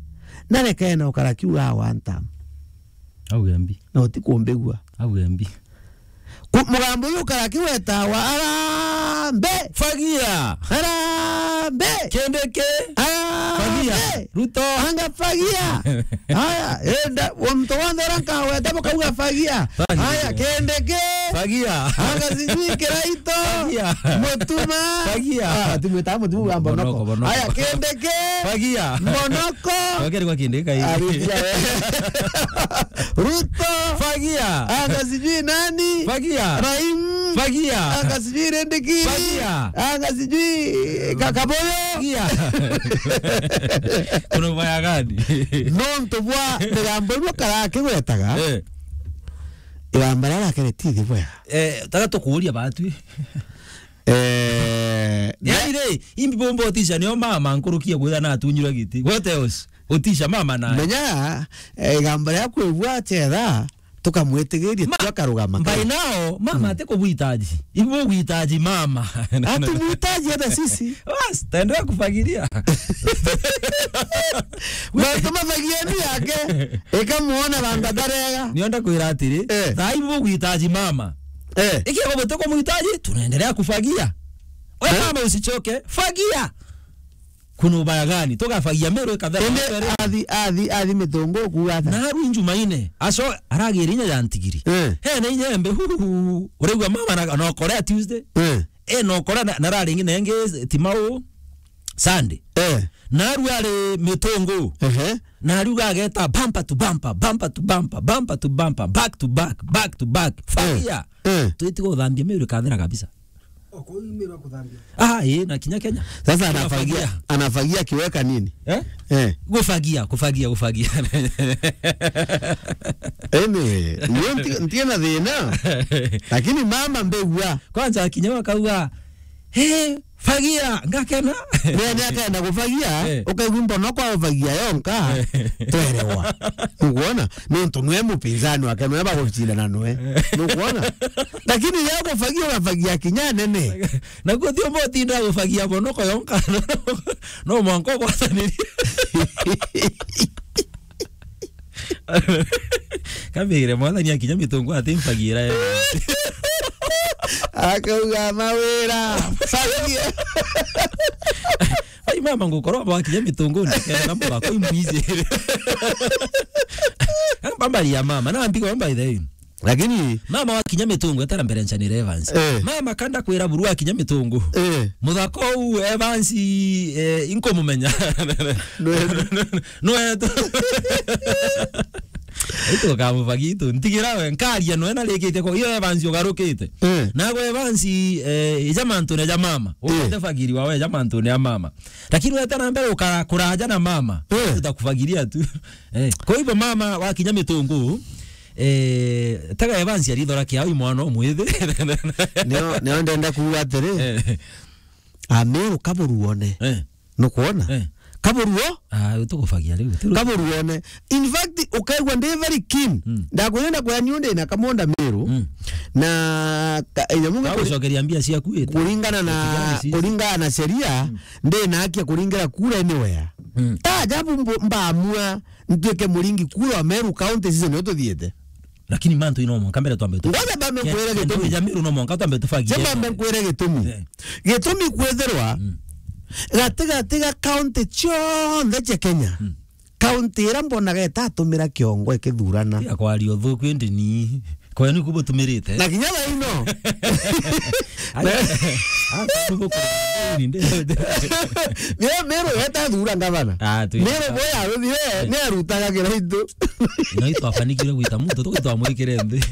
narekene ukara kiuga one term. Auge mbi. Na utikumbigua. Auge mbi. Ku-, mugambo uyu ukara kiwetawa, Harambee! Fagia! Harambee! Kindiki! Harambee! Fagia! Ruto! Anga fagia! Haya, enda, wa muntu wonthe uria nkaweta bukauga fagia. Fagia. Haya, Kindiki! Fagia! Anga sijui Kiraitu! Fagia! Mutuma! Fagia! Ah, tumwitaga Mutuma wa Mbonoko. Mbonoko, Mbonoko. Haya, Kindiki! Fagia! Mbonoko! Wageri kwa Kindiki kai. Aritia we. Ruto! Fagia! Anga sijui nani? Fagia! Raim! Fagia! Anga sijui Rindikiri! Fagia! Anga sijui Kakaboyo! Fagia! Kuna ubaya gani? Nontu bwa migambo ino karakigwetaga. Eh. Igamba riria rakere ti thi bwega. Eh, taga tukuuria batwi. Eh, yani ri, imbi bomba utisha nio mama nkurukia kwira na atunyirwe giti. What else? Utisha mama na. Menya, eh, igamba ria kwigua chetha, tukamwitigiria, ma-, tukarugama by kare. Now, mama, mm, ati kubuhitaji. Ibu buhitaji mama. Hatumhitaji hata sisi. Bas, taendelea kufagilia. Mantu mafagia ni yake, ikamuona banga darega. Nionda kwira atiri, eh, thaa ibu buhitaji mama. Eh. Ikiwa gutikumhitaji, tunaendelea kufagia. We, eh, mama usichoke, fagia. Kuna ubaya gani? Tugafagia Meru ikathera. Indi athi, athi, athi mitungu kuuga ata? Na aru Jumaine, aco aragiri inya ya ntigiri. Eh. He na inya embe, hu, hu, hu, hu. Urigua mama na, na okorea Tuesday. Eh. E, na okorea na, na rari ingi na ingi ti mau Sunday. Eh. Na aru ari mitungu. Ehe. Na aru gageta bumper to bumper, bumper to bumper, bumper to bumper, back to back, back to back. Eh. Fagia. Eh. Twitiga uthambia Meru ikathera kabisa. Oko imirwa kuthambia. Ah, eh, na kinya Kenya. Sasa anafagia, anafagia akiweka nini? Eh? Eh. Kufagia, kufagia, kufagia. Anyway, ndio nti-, ntiena thina. Lakini mama mbegua. Kwanza kinya wakauga, "Hey, fagia, ngakena." Ni, ni akaenda kufagia, eh, ukaigua mbono kwa ufagia yonka, eh, twerewa. Nukuona? Nontu nwe mupinzani wake, nwe bagucindana nwe. Nukuona? Lakini ya kufagia, ugafagia kinya nene. Na kuthio mbotinda gufagia mbono ko yonka. No mwanko gwataniria. Kambigire mwathani akinya mitungu atimfagira ye. Akauga, "Mawira, fagia." Ai, mama, ngukorwa bakinya mitungu ndikena mugako imwizi. Bambari ya mama, na mbigo by the way. Lakini mama wakinya mitungu etara mbere nchanire Evans. Eh. Mama kanda kwira buru akinya mitungu. Eh. Muthako u Evans, eh, inkumumenya. Nwe-, nwe-, nwe-, nwetu. Itu ukamubagia itu. Ntigira we, nkaria noe na rikite ko. Iyo Evans ugarukite. Eh. Nago Evans, eh, ija mantune ja mama. Eh. Ukote bagiri wawe, ija mantune ya mama. Lakini weta na mbere ukara-, kuraja na mama. Eh. Tutakubagiria tu. Eh. Kwa hivyo mama wakinya Mitungu, eh, tega Evans arithora kiao i mwana umwithi. Nio, nio ndenda kuuga atiri, Eh. Ameru kaburuone. Eh. Nukwona? Eh. Kaburuo? Ah, tukubagia riu. Tu- Kaburuone. In fact, ukaigua ndi very keen. Mm. Ndakwenda kwani undi na kamonda Meru. Mm. Na ka-, nyamu Ka kuri-, gucokeria mbia ciaku ite. Kuringana na, Kuringana na sheria, Mm. ndi na haki ya kuringira kura anywhere. Mm. Ta ajabu mbo-, mbamua ntuike muringi kura wa Meru County season ino tuthiite. Lakini mantu ino mwanka mbere twambe tu- Ngoja bambe Ke-, nkwire kendo gitumi. Wija Meru no mwanka twambe tubagie. Sema bambe nkwire gitumi. Eh. Gitumi kwithirwa Mm. gati gati ga county cionthe cia Kenya. Mm. County ira mbonaga itatumira kiongo ikithurana. Ya kwaria uthuku indi ni. Kwa ni kubutumirite. Na kinya thaa ino. Ai, ai, kubuku-, ni ndi-, Meru yeta thura ngavana. Ah, tu- Meru boya ruthire, Eh. ni arutaga kiraitu. Ino itwafanikire gwita muntu, tugitwamwikire nthi.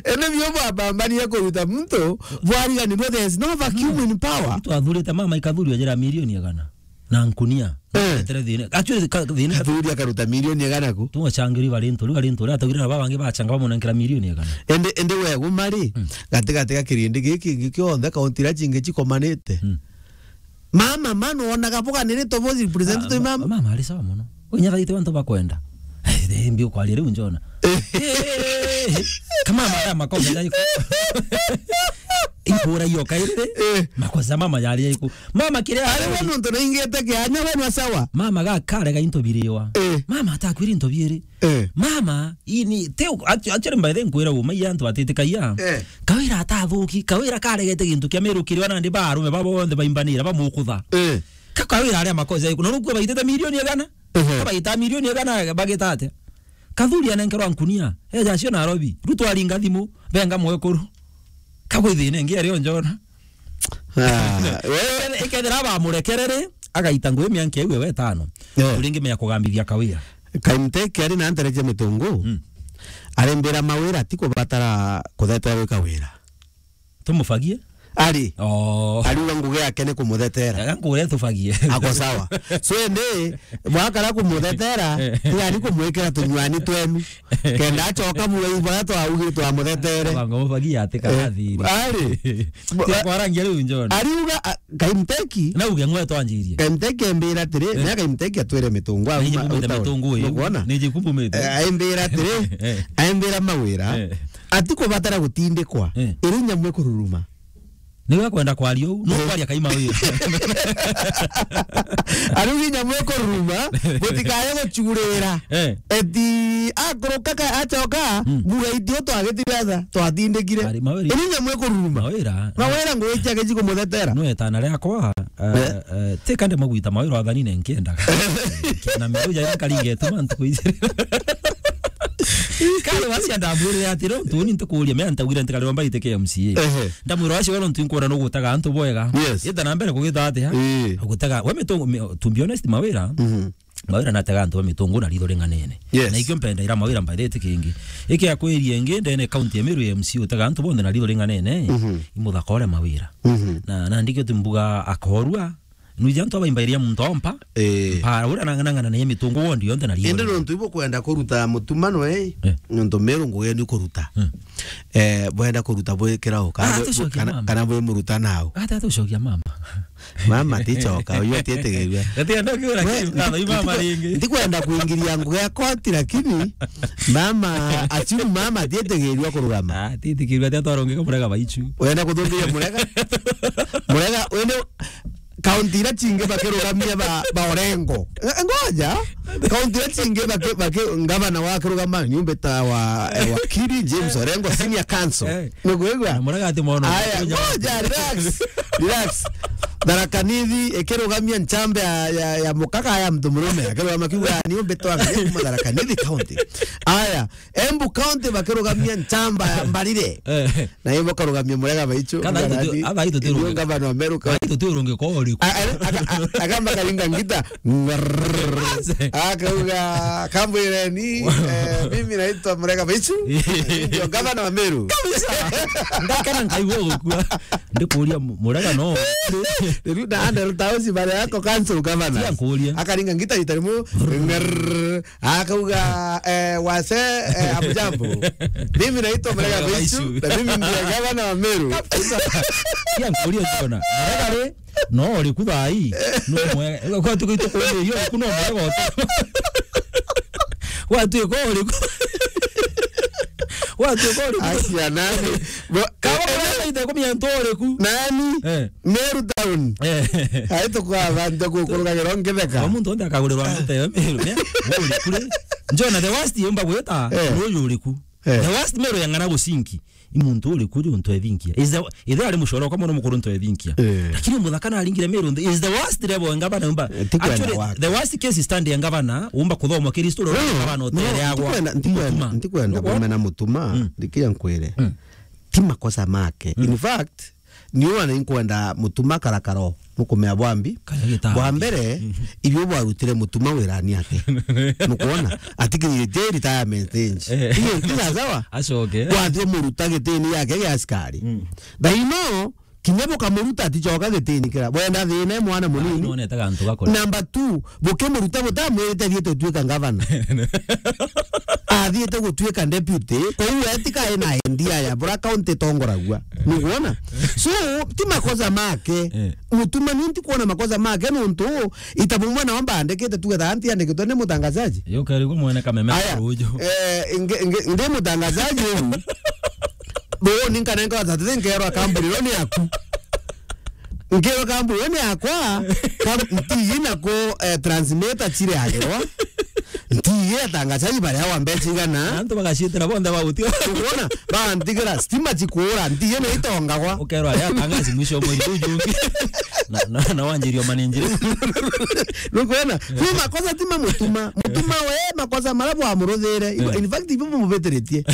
Ene bio bwapambanie kuruta muntu, bwariganirwe, there is no vacuum in power. Itwathurite mama ikathurio jira milioni igana. Na nkunia. Eh. Etere thina. Actually, ka-, thina. Kathuri akaruta milioni igana ku? Tugacangiri bari ntu, bari ntu, ria atagire na babangi bacanga bamunenkera milioni igana. Ende, ende we gumari, Mm. gati gati ga kirindi giki, giki kionthe, kaunti iria cingi cikomanite. Mm. Mama, mano wonaga boganirite bo representative Ah, mama. Mama ari sawa mono. Unya thaite bantu bakwenda. Eh, mbi ukwaria riu njona. Eh. Eh, eh, eh, eh. Kama mara makosa jai. Ibura iyo kairire. Eh. Makosa mama yari iku. Mama kiria Ari we nontu naingite kianya we nwa sawa. Mama ga karega into biriwa. Eh. Mama atakwiri into biiri. Eh. Mama, ini, te, actu-, actually, by the way, nkwira uma, iya antu batitikagia. Eh. Kawira atathuki, Kawira karegete gintu kia Meru kiria nandi ba arume babo bonthe baimbanira, bamukutha. Eh. Ka Kawira aria makosa iku, na rukua baitete milioni igana? Ehe. Ka baita milioni igana, bagita atia? Kathuri anenkerwa nkunia, eja acio Nairobi, Ruto aringa thimu, benga mwekuru. Kagwe thina ingi ario njona. Ah, we- Ikethira bamurekerere, agaita ngui mianka iu ewe etano. Eh. Uringi mea kugambithia Kawira. Kaimteki ari na ntere cia mitungu. Mm. Arimbira Mawira ti kubatara kutheterwa i Kawira. Tumubagie? Ari. Oh. Ariuga ngugi yake ni kumuthetera. Ega nkure tubagie. Ako sawa. So ende, mwakara kumuthetera, Eh. ni ari kumwikira tunywani twenu. Kenda acoka bura ibara twaugire twamuthetere. Banga mubagie ati Eh, karathiri. Ari. Tia kwarangia riu njona. Ariuga, a, Kaimteki. Na uge ngwe twanjirie. Kaimteki embira atiri, Eh. na Kaimteki atwire mitungu. Na iji kumite mitungu ii. Nukwona? Ni iji kumite. Eh, aimbira atiri, Eh. aimbira Mawira. Eh. Atikubatara gutindikwa. Eh. Iri nyamu ikururuma. Niwe akwenda kwaria uu, no Eh. kwaria Kaima wira. Ariuga nyamu ikururuma, gutikaye gucurira. Eh. Eti akuruka ka-, acoka, Mm. muga itio twagitire atha, twatindikire. Ari, Mawira. Iri nyamu ikururuma. Mawira. Mawira ngui ciake cikumuthetera. No etana riakwa, Eh. Eh, eh, ti kande magwita Mawira wathanine nkiendaga. Kiana miru ja nkaringe tu mantu kuijire. Kale wacia ndamwirire atiri, untu uni ntukuria, me antagwire ntikari wamba ite K M C A. Ehe. Ndamwira wacio wero ntu nkwona no gutaga antu bwega. Yes. Ita na mbere kugita atia? Ii. Gutaga, we mitungu, mi-, to be honest, Mawira, Mhm. Mawira natega antu ba mitungu na ritho ringanene. Yes. Na ikio mpenda ira Mawira mbathete kingi. Iki akwirie ingi, ndene county ya Meru ya M C A utega antu bonthe na ritho ringanene. Mhm. Imuthaka uria Mawira. Mhm. Na, na ndikio timbuga akorua, Nwiji antu abaimbairia muntu ompa. Eh. Mpa, uria nang'anang'ana na mitungu wondi yonthe na ritho. Indi nontu ibo kwenda kuruta mutumano, eh, Eh. nontu Meru ngugi ni kuruta. Mm. Eh, bwenda kuruta bwi kirau, kana Ah, bwi, tucokia kana, mama. kana bwi muruta nau. Ata tucokia mama. Mama ticoka, uyu atietegerua. Gati enda kiura We, kiu, kana i mama ndiku-, ringi. Ndikwenda kuingiria ngugi ya koti, lakini mama, assume mama atietegerua kurugama. Ah, titikiria ati atwarongeka murega baichu. Wenda kuthungiria murega? Murega, wende kaunti iria cingi bakirugamia ba, ba Orengo. Ng-, ngoja. Kaunti iria cingi baki-, baki-, ngavana wakirugama nyumba ta wa, eh, wakiri James Orengo, senior counsel. Eh. Niguigua? Na murega ati mono. Aya, ngoja, relax. Relax. Tharaka Nithi ikirugamia nchamba ya, ya, ya mukaga ya mtu murume, akirugama kiuga, "Ni umbe twa angalia kuma Tharaka Nithi County." Aya, Embu County bakirugamia nchamba ya Mbarire. Eh. Na ibo karugamia Murega Baichu. Kana itu tu, aba itu tu. Ndio gavana wa Meru County. Itu tu urungi kwa uriku. A-, a-, aka-, a-, akamba karinga ngita. Ngrrrr. Akauga, "Kambwireni, eh, mimi naitwa Murega Baichu. Ndio gavana wa Meru." Kabisa. Ndakana nkaigua gukua. Ndikuria mu-, Murega no. Riu na Andrew Tausi bare yako council governor. Tia nkuria. Akaringa ngita rita rimwe. Ngrrrr. Akauga, eh, "Wase, eh, hamjambo. Mimi naitwa Murega Baichu, na mimi ndiye gavana wa Meru." Kabisa. Tia nkuria Jona. Murega ri, no uriku thaa ii. No mwe-, kwa tuko ito kuuria uriku no Murega ote. Watu iko uriku. Watu iko uriku. Akia nani? Bo-, kama eh, eh, Murega ite kumia nto uriku. Nani? Eh. Meru Town. Eh. Ai tukwaba ndio kukurugagira ngitheka. Kwa muntu onde akagurirwa ngitheka Meru, ne? Uriku ri. Njona the worst yumba gwita, eh, no yuriku. Eh. The worst Meru ya ng'ana gucinki. I muntu uriku ri untu ethinkia. Is the, ithe ari mucoro kwa mwana mukuru untu ethinkia. Eh. Lakini muthaka na aringire Meru nthi, is the worst level ya ngavana umba. Eh, ti kwenda actually, wake. The worst case stand ya ngavana umba kuthomwa kiri story ya ngavana utere agwa. Ntikwenda, ntikwenda, ntikwenda kumena mutuma, mm, ndikia nkwire. Mm. Ti makosa make. Mm. In fact, ni wana inkwenda mutuma karakaro, nukumea bwambi. Kana gita. Bwa mbere, mhm, ibyo bwarutire mutuma wirani ake. Nukuona? Atikiritie retirement age. Eh. Iyo ntiga sawa? Acoke. Kwathio muruta gitini yake ya askari. Mm. Thaino, kinya bukamuruta aticoka gitini kira. Bwenda thina mwana munini. Nonete gantu gakora. Number two, bukimuruta butamwirite thie tutuika ngavana. Athiite gutuika deputy, kou we tika ena idea ya bura county tongoragua. Nukuona? So, ti makosa make. Eh. Mutuma ni nti kuona makosa make nuntu ita bumwe nao mbandikite tugetha anti andikitwe ni mutangazaji. Yo kari ku mwene kameme. Aya, rujo. Eh, nge, nge, ndi mutangazaji uyu. Bo ni nkanenga watatu nkerwa kamburi ro ni aku. Nkirwa kambuni ni yakwa, kam-, ntiyi na ku, eh, transmitter chire agirwa. Ntiyi atangazaji baria wa mbeca igana. Antu bagacitira bonthe bagutio. Ukwona? Bantigira stima chikura, ntiyi ni itongagwa. Ukerwa aria atangazi mwisho wa mweri uyu ungi. Na, na, na wanjirio manenjire. Nukwona? Kwi makosa ti mamutuma. Mutuma we makosa maria bwamuruthire. Ibo-, eh, in fact, ibyo bumubitiritie.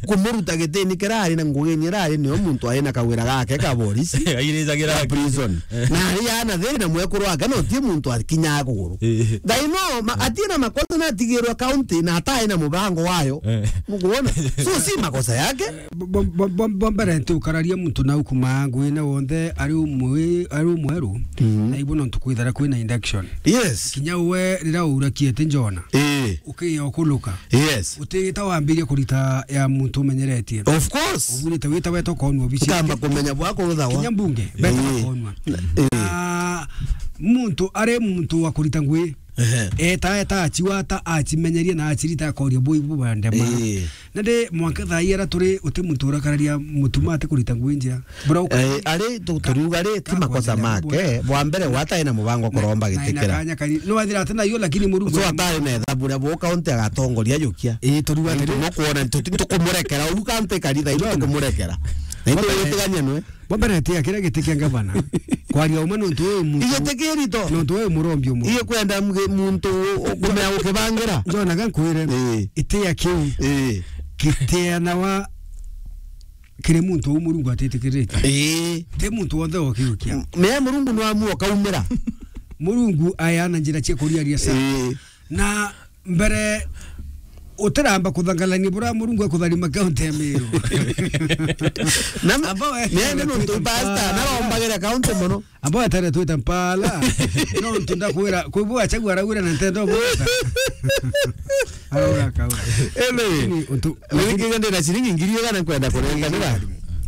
Kumuruta gitini kira ari na ngugi ni rari nio muntu ari na kawira gake ka borisi. Airicagira ka prison. Eh. Na ari ana thiri na mwekuru wake no ti muntu akinyaa kuguru. Eh. Thaino, ma-, eh, atina makosa na atigirwa county na atai na mubango wayo. Eh. Mukuona? So, si makosa yake. Bo-, bo-, bo-, bo-, bo mbere nti ukararia muntu na ukuma ngwine wonthe ari umwe, ari umweru. Mhm. Na ibu no ntukwithara kwina induction. Yes. Kinya we rira urakie ti njona. Eh. Ukiya ukuluka. Yes. Utigita wambirie kurita ya muntu umenyeretie. Of course. Ubwirite wita weta ukonwa obici. Nkamba kumenya bwako ruthawa. Kinya mbunge, beta, eh, bakonwa. Eh. Na muntu ari muntu wa kurita ngui. Ehe. Eta, eta, achiwata, achimenyerie na achirita akoria bui bu bandema. Eh. Na ndi mwanka thaa ii ara turi uti muntu urakararia mutuma ati kurita ngui njia. Bura uka-, eh, ari tu-, turiuga ri, ti makosa make. Bwa mbere, watae na mubango kuromba gitikira. No athira ati na yo, lakini Murungu so atari na ethabu ria bo county agatongoria jukia. Eh, turiuga ati mukuona ntu-, ntukumurekera, uruka nte karitha, ntukumurekera. Na ndio yitigania nwe. Bwa mbere, tia kiria giti kia ngavana. Kwaria umwe nontu uyu muntu, igiti kirito. Nontu uyu murombi umwe. Iye kwenda mge-, muntu u-, u-, kumea ukibangira. Njona ga nkwire. Eh. Itia kiu. Eh. Kiteanawa kiri muntu uu Murungu atitikirite. Eh. Ti muntu wonthe okiukia. M-, me Murungu no amua ukaumira. Murungu ayana njira cia kuriaria sa. Eh. Na mbere utiramba kuthangalania bura Murungu akutharima kaunti ya Meru. Na ambao we-, nene nuntu pastor, narombagire kaunti mono. Ambao atare twita mpala. No ntu ndakwira, kwi bu achagua arauira na ntendo bwota. Arauga kaura. Ele. Lakini untu, lakini ndina shilingi ngiri igana kwenda kurenganira.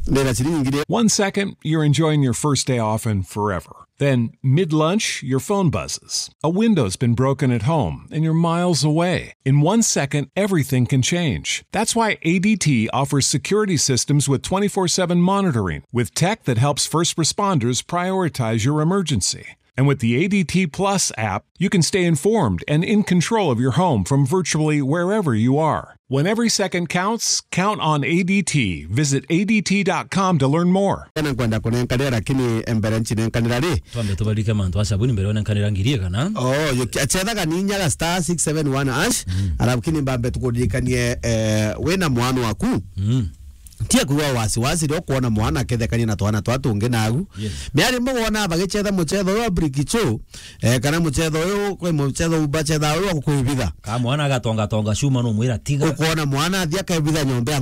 Ndina shilingi ngiri. One second, you're enjoying your first day off and forever. Then, mid lunch, your phone buzzes. A window's been broken at home and you're miles away. In one second, everything can change. That's why A D T offers security systems with twenty-four seven monitoring, with tech that helps first responders prioritize your emergency. And with the A D T Plus app, you can stay informed and in control of your home from virtually wherever you are. When every second counts, count on A D T. Visit A D T dot com to learn more. Na nkwenda kunenkanira, lakini mbere ncinenkanira ri? Twambe tubarike mantu a sabuni mbere unenkanira ngiri igana. Oh, yo, achethaga ni inyaga star six seven one hash, mm, alafu kini mbambe tukuririkanie, eh, wina mwana waku. Mm. Tie kuwa wasiwasi rio kuona mwana akethekania na twana twa tungi nagu. Yes. Miari mugona bagichetha muchetho uyu wa brikicho, eh, kana muchetho uyu, kwi muchetho ubachetha uyu wa kukwibitha. Ka mwana agatonga tonga cuma no mwira tiga. Ukona mwana athia akebitha nyomba ya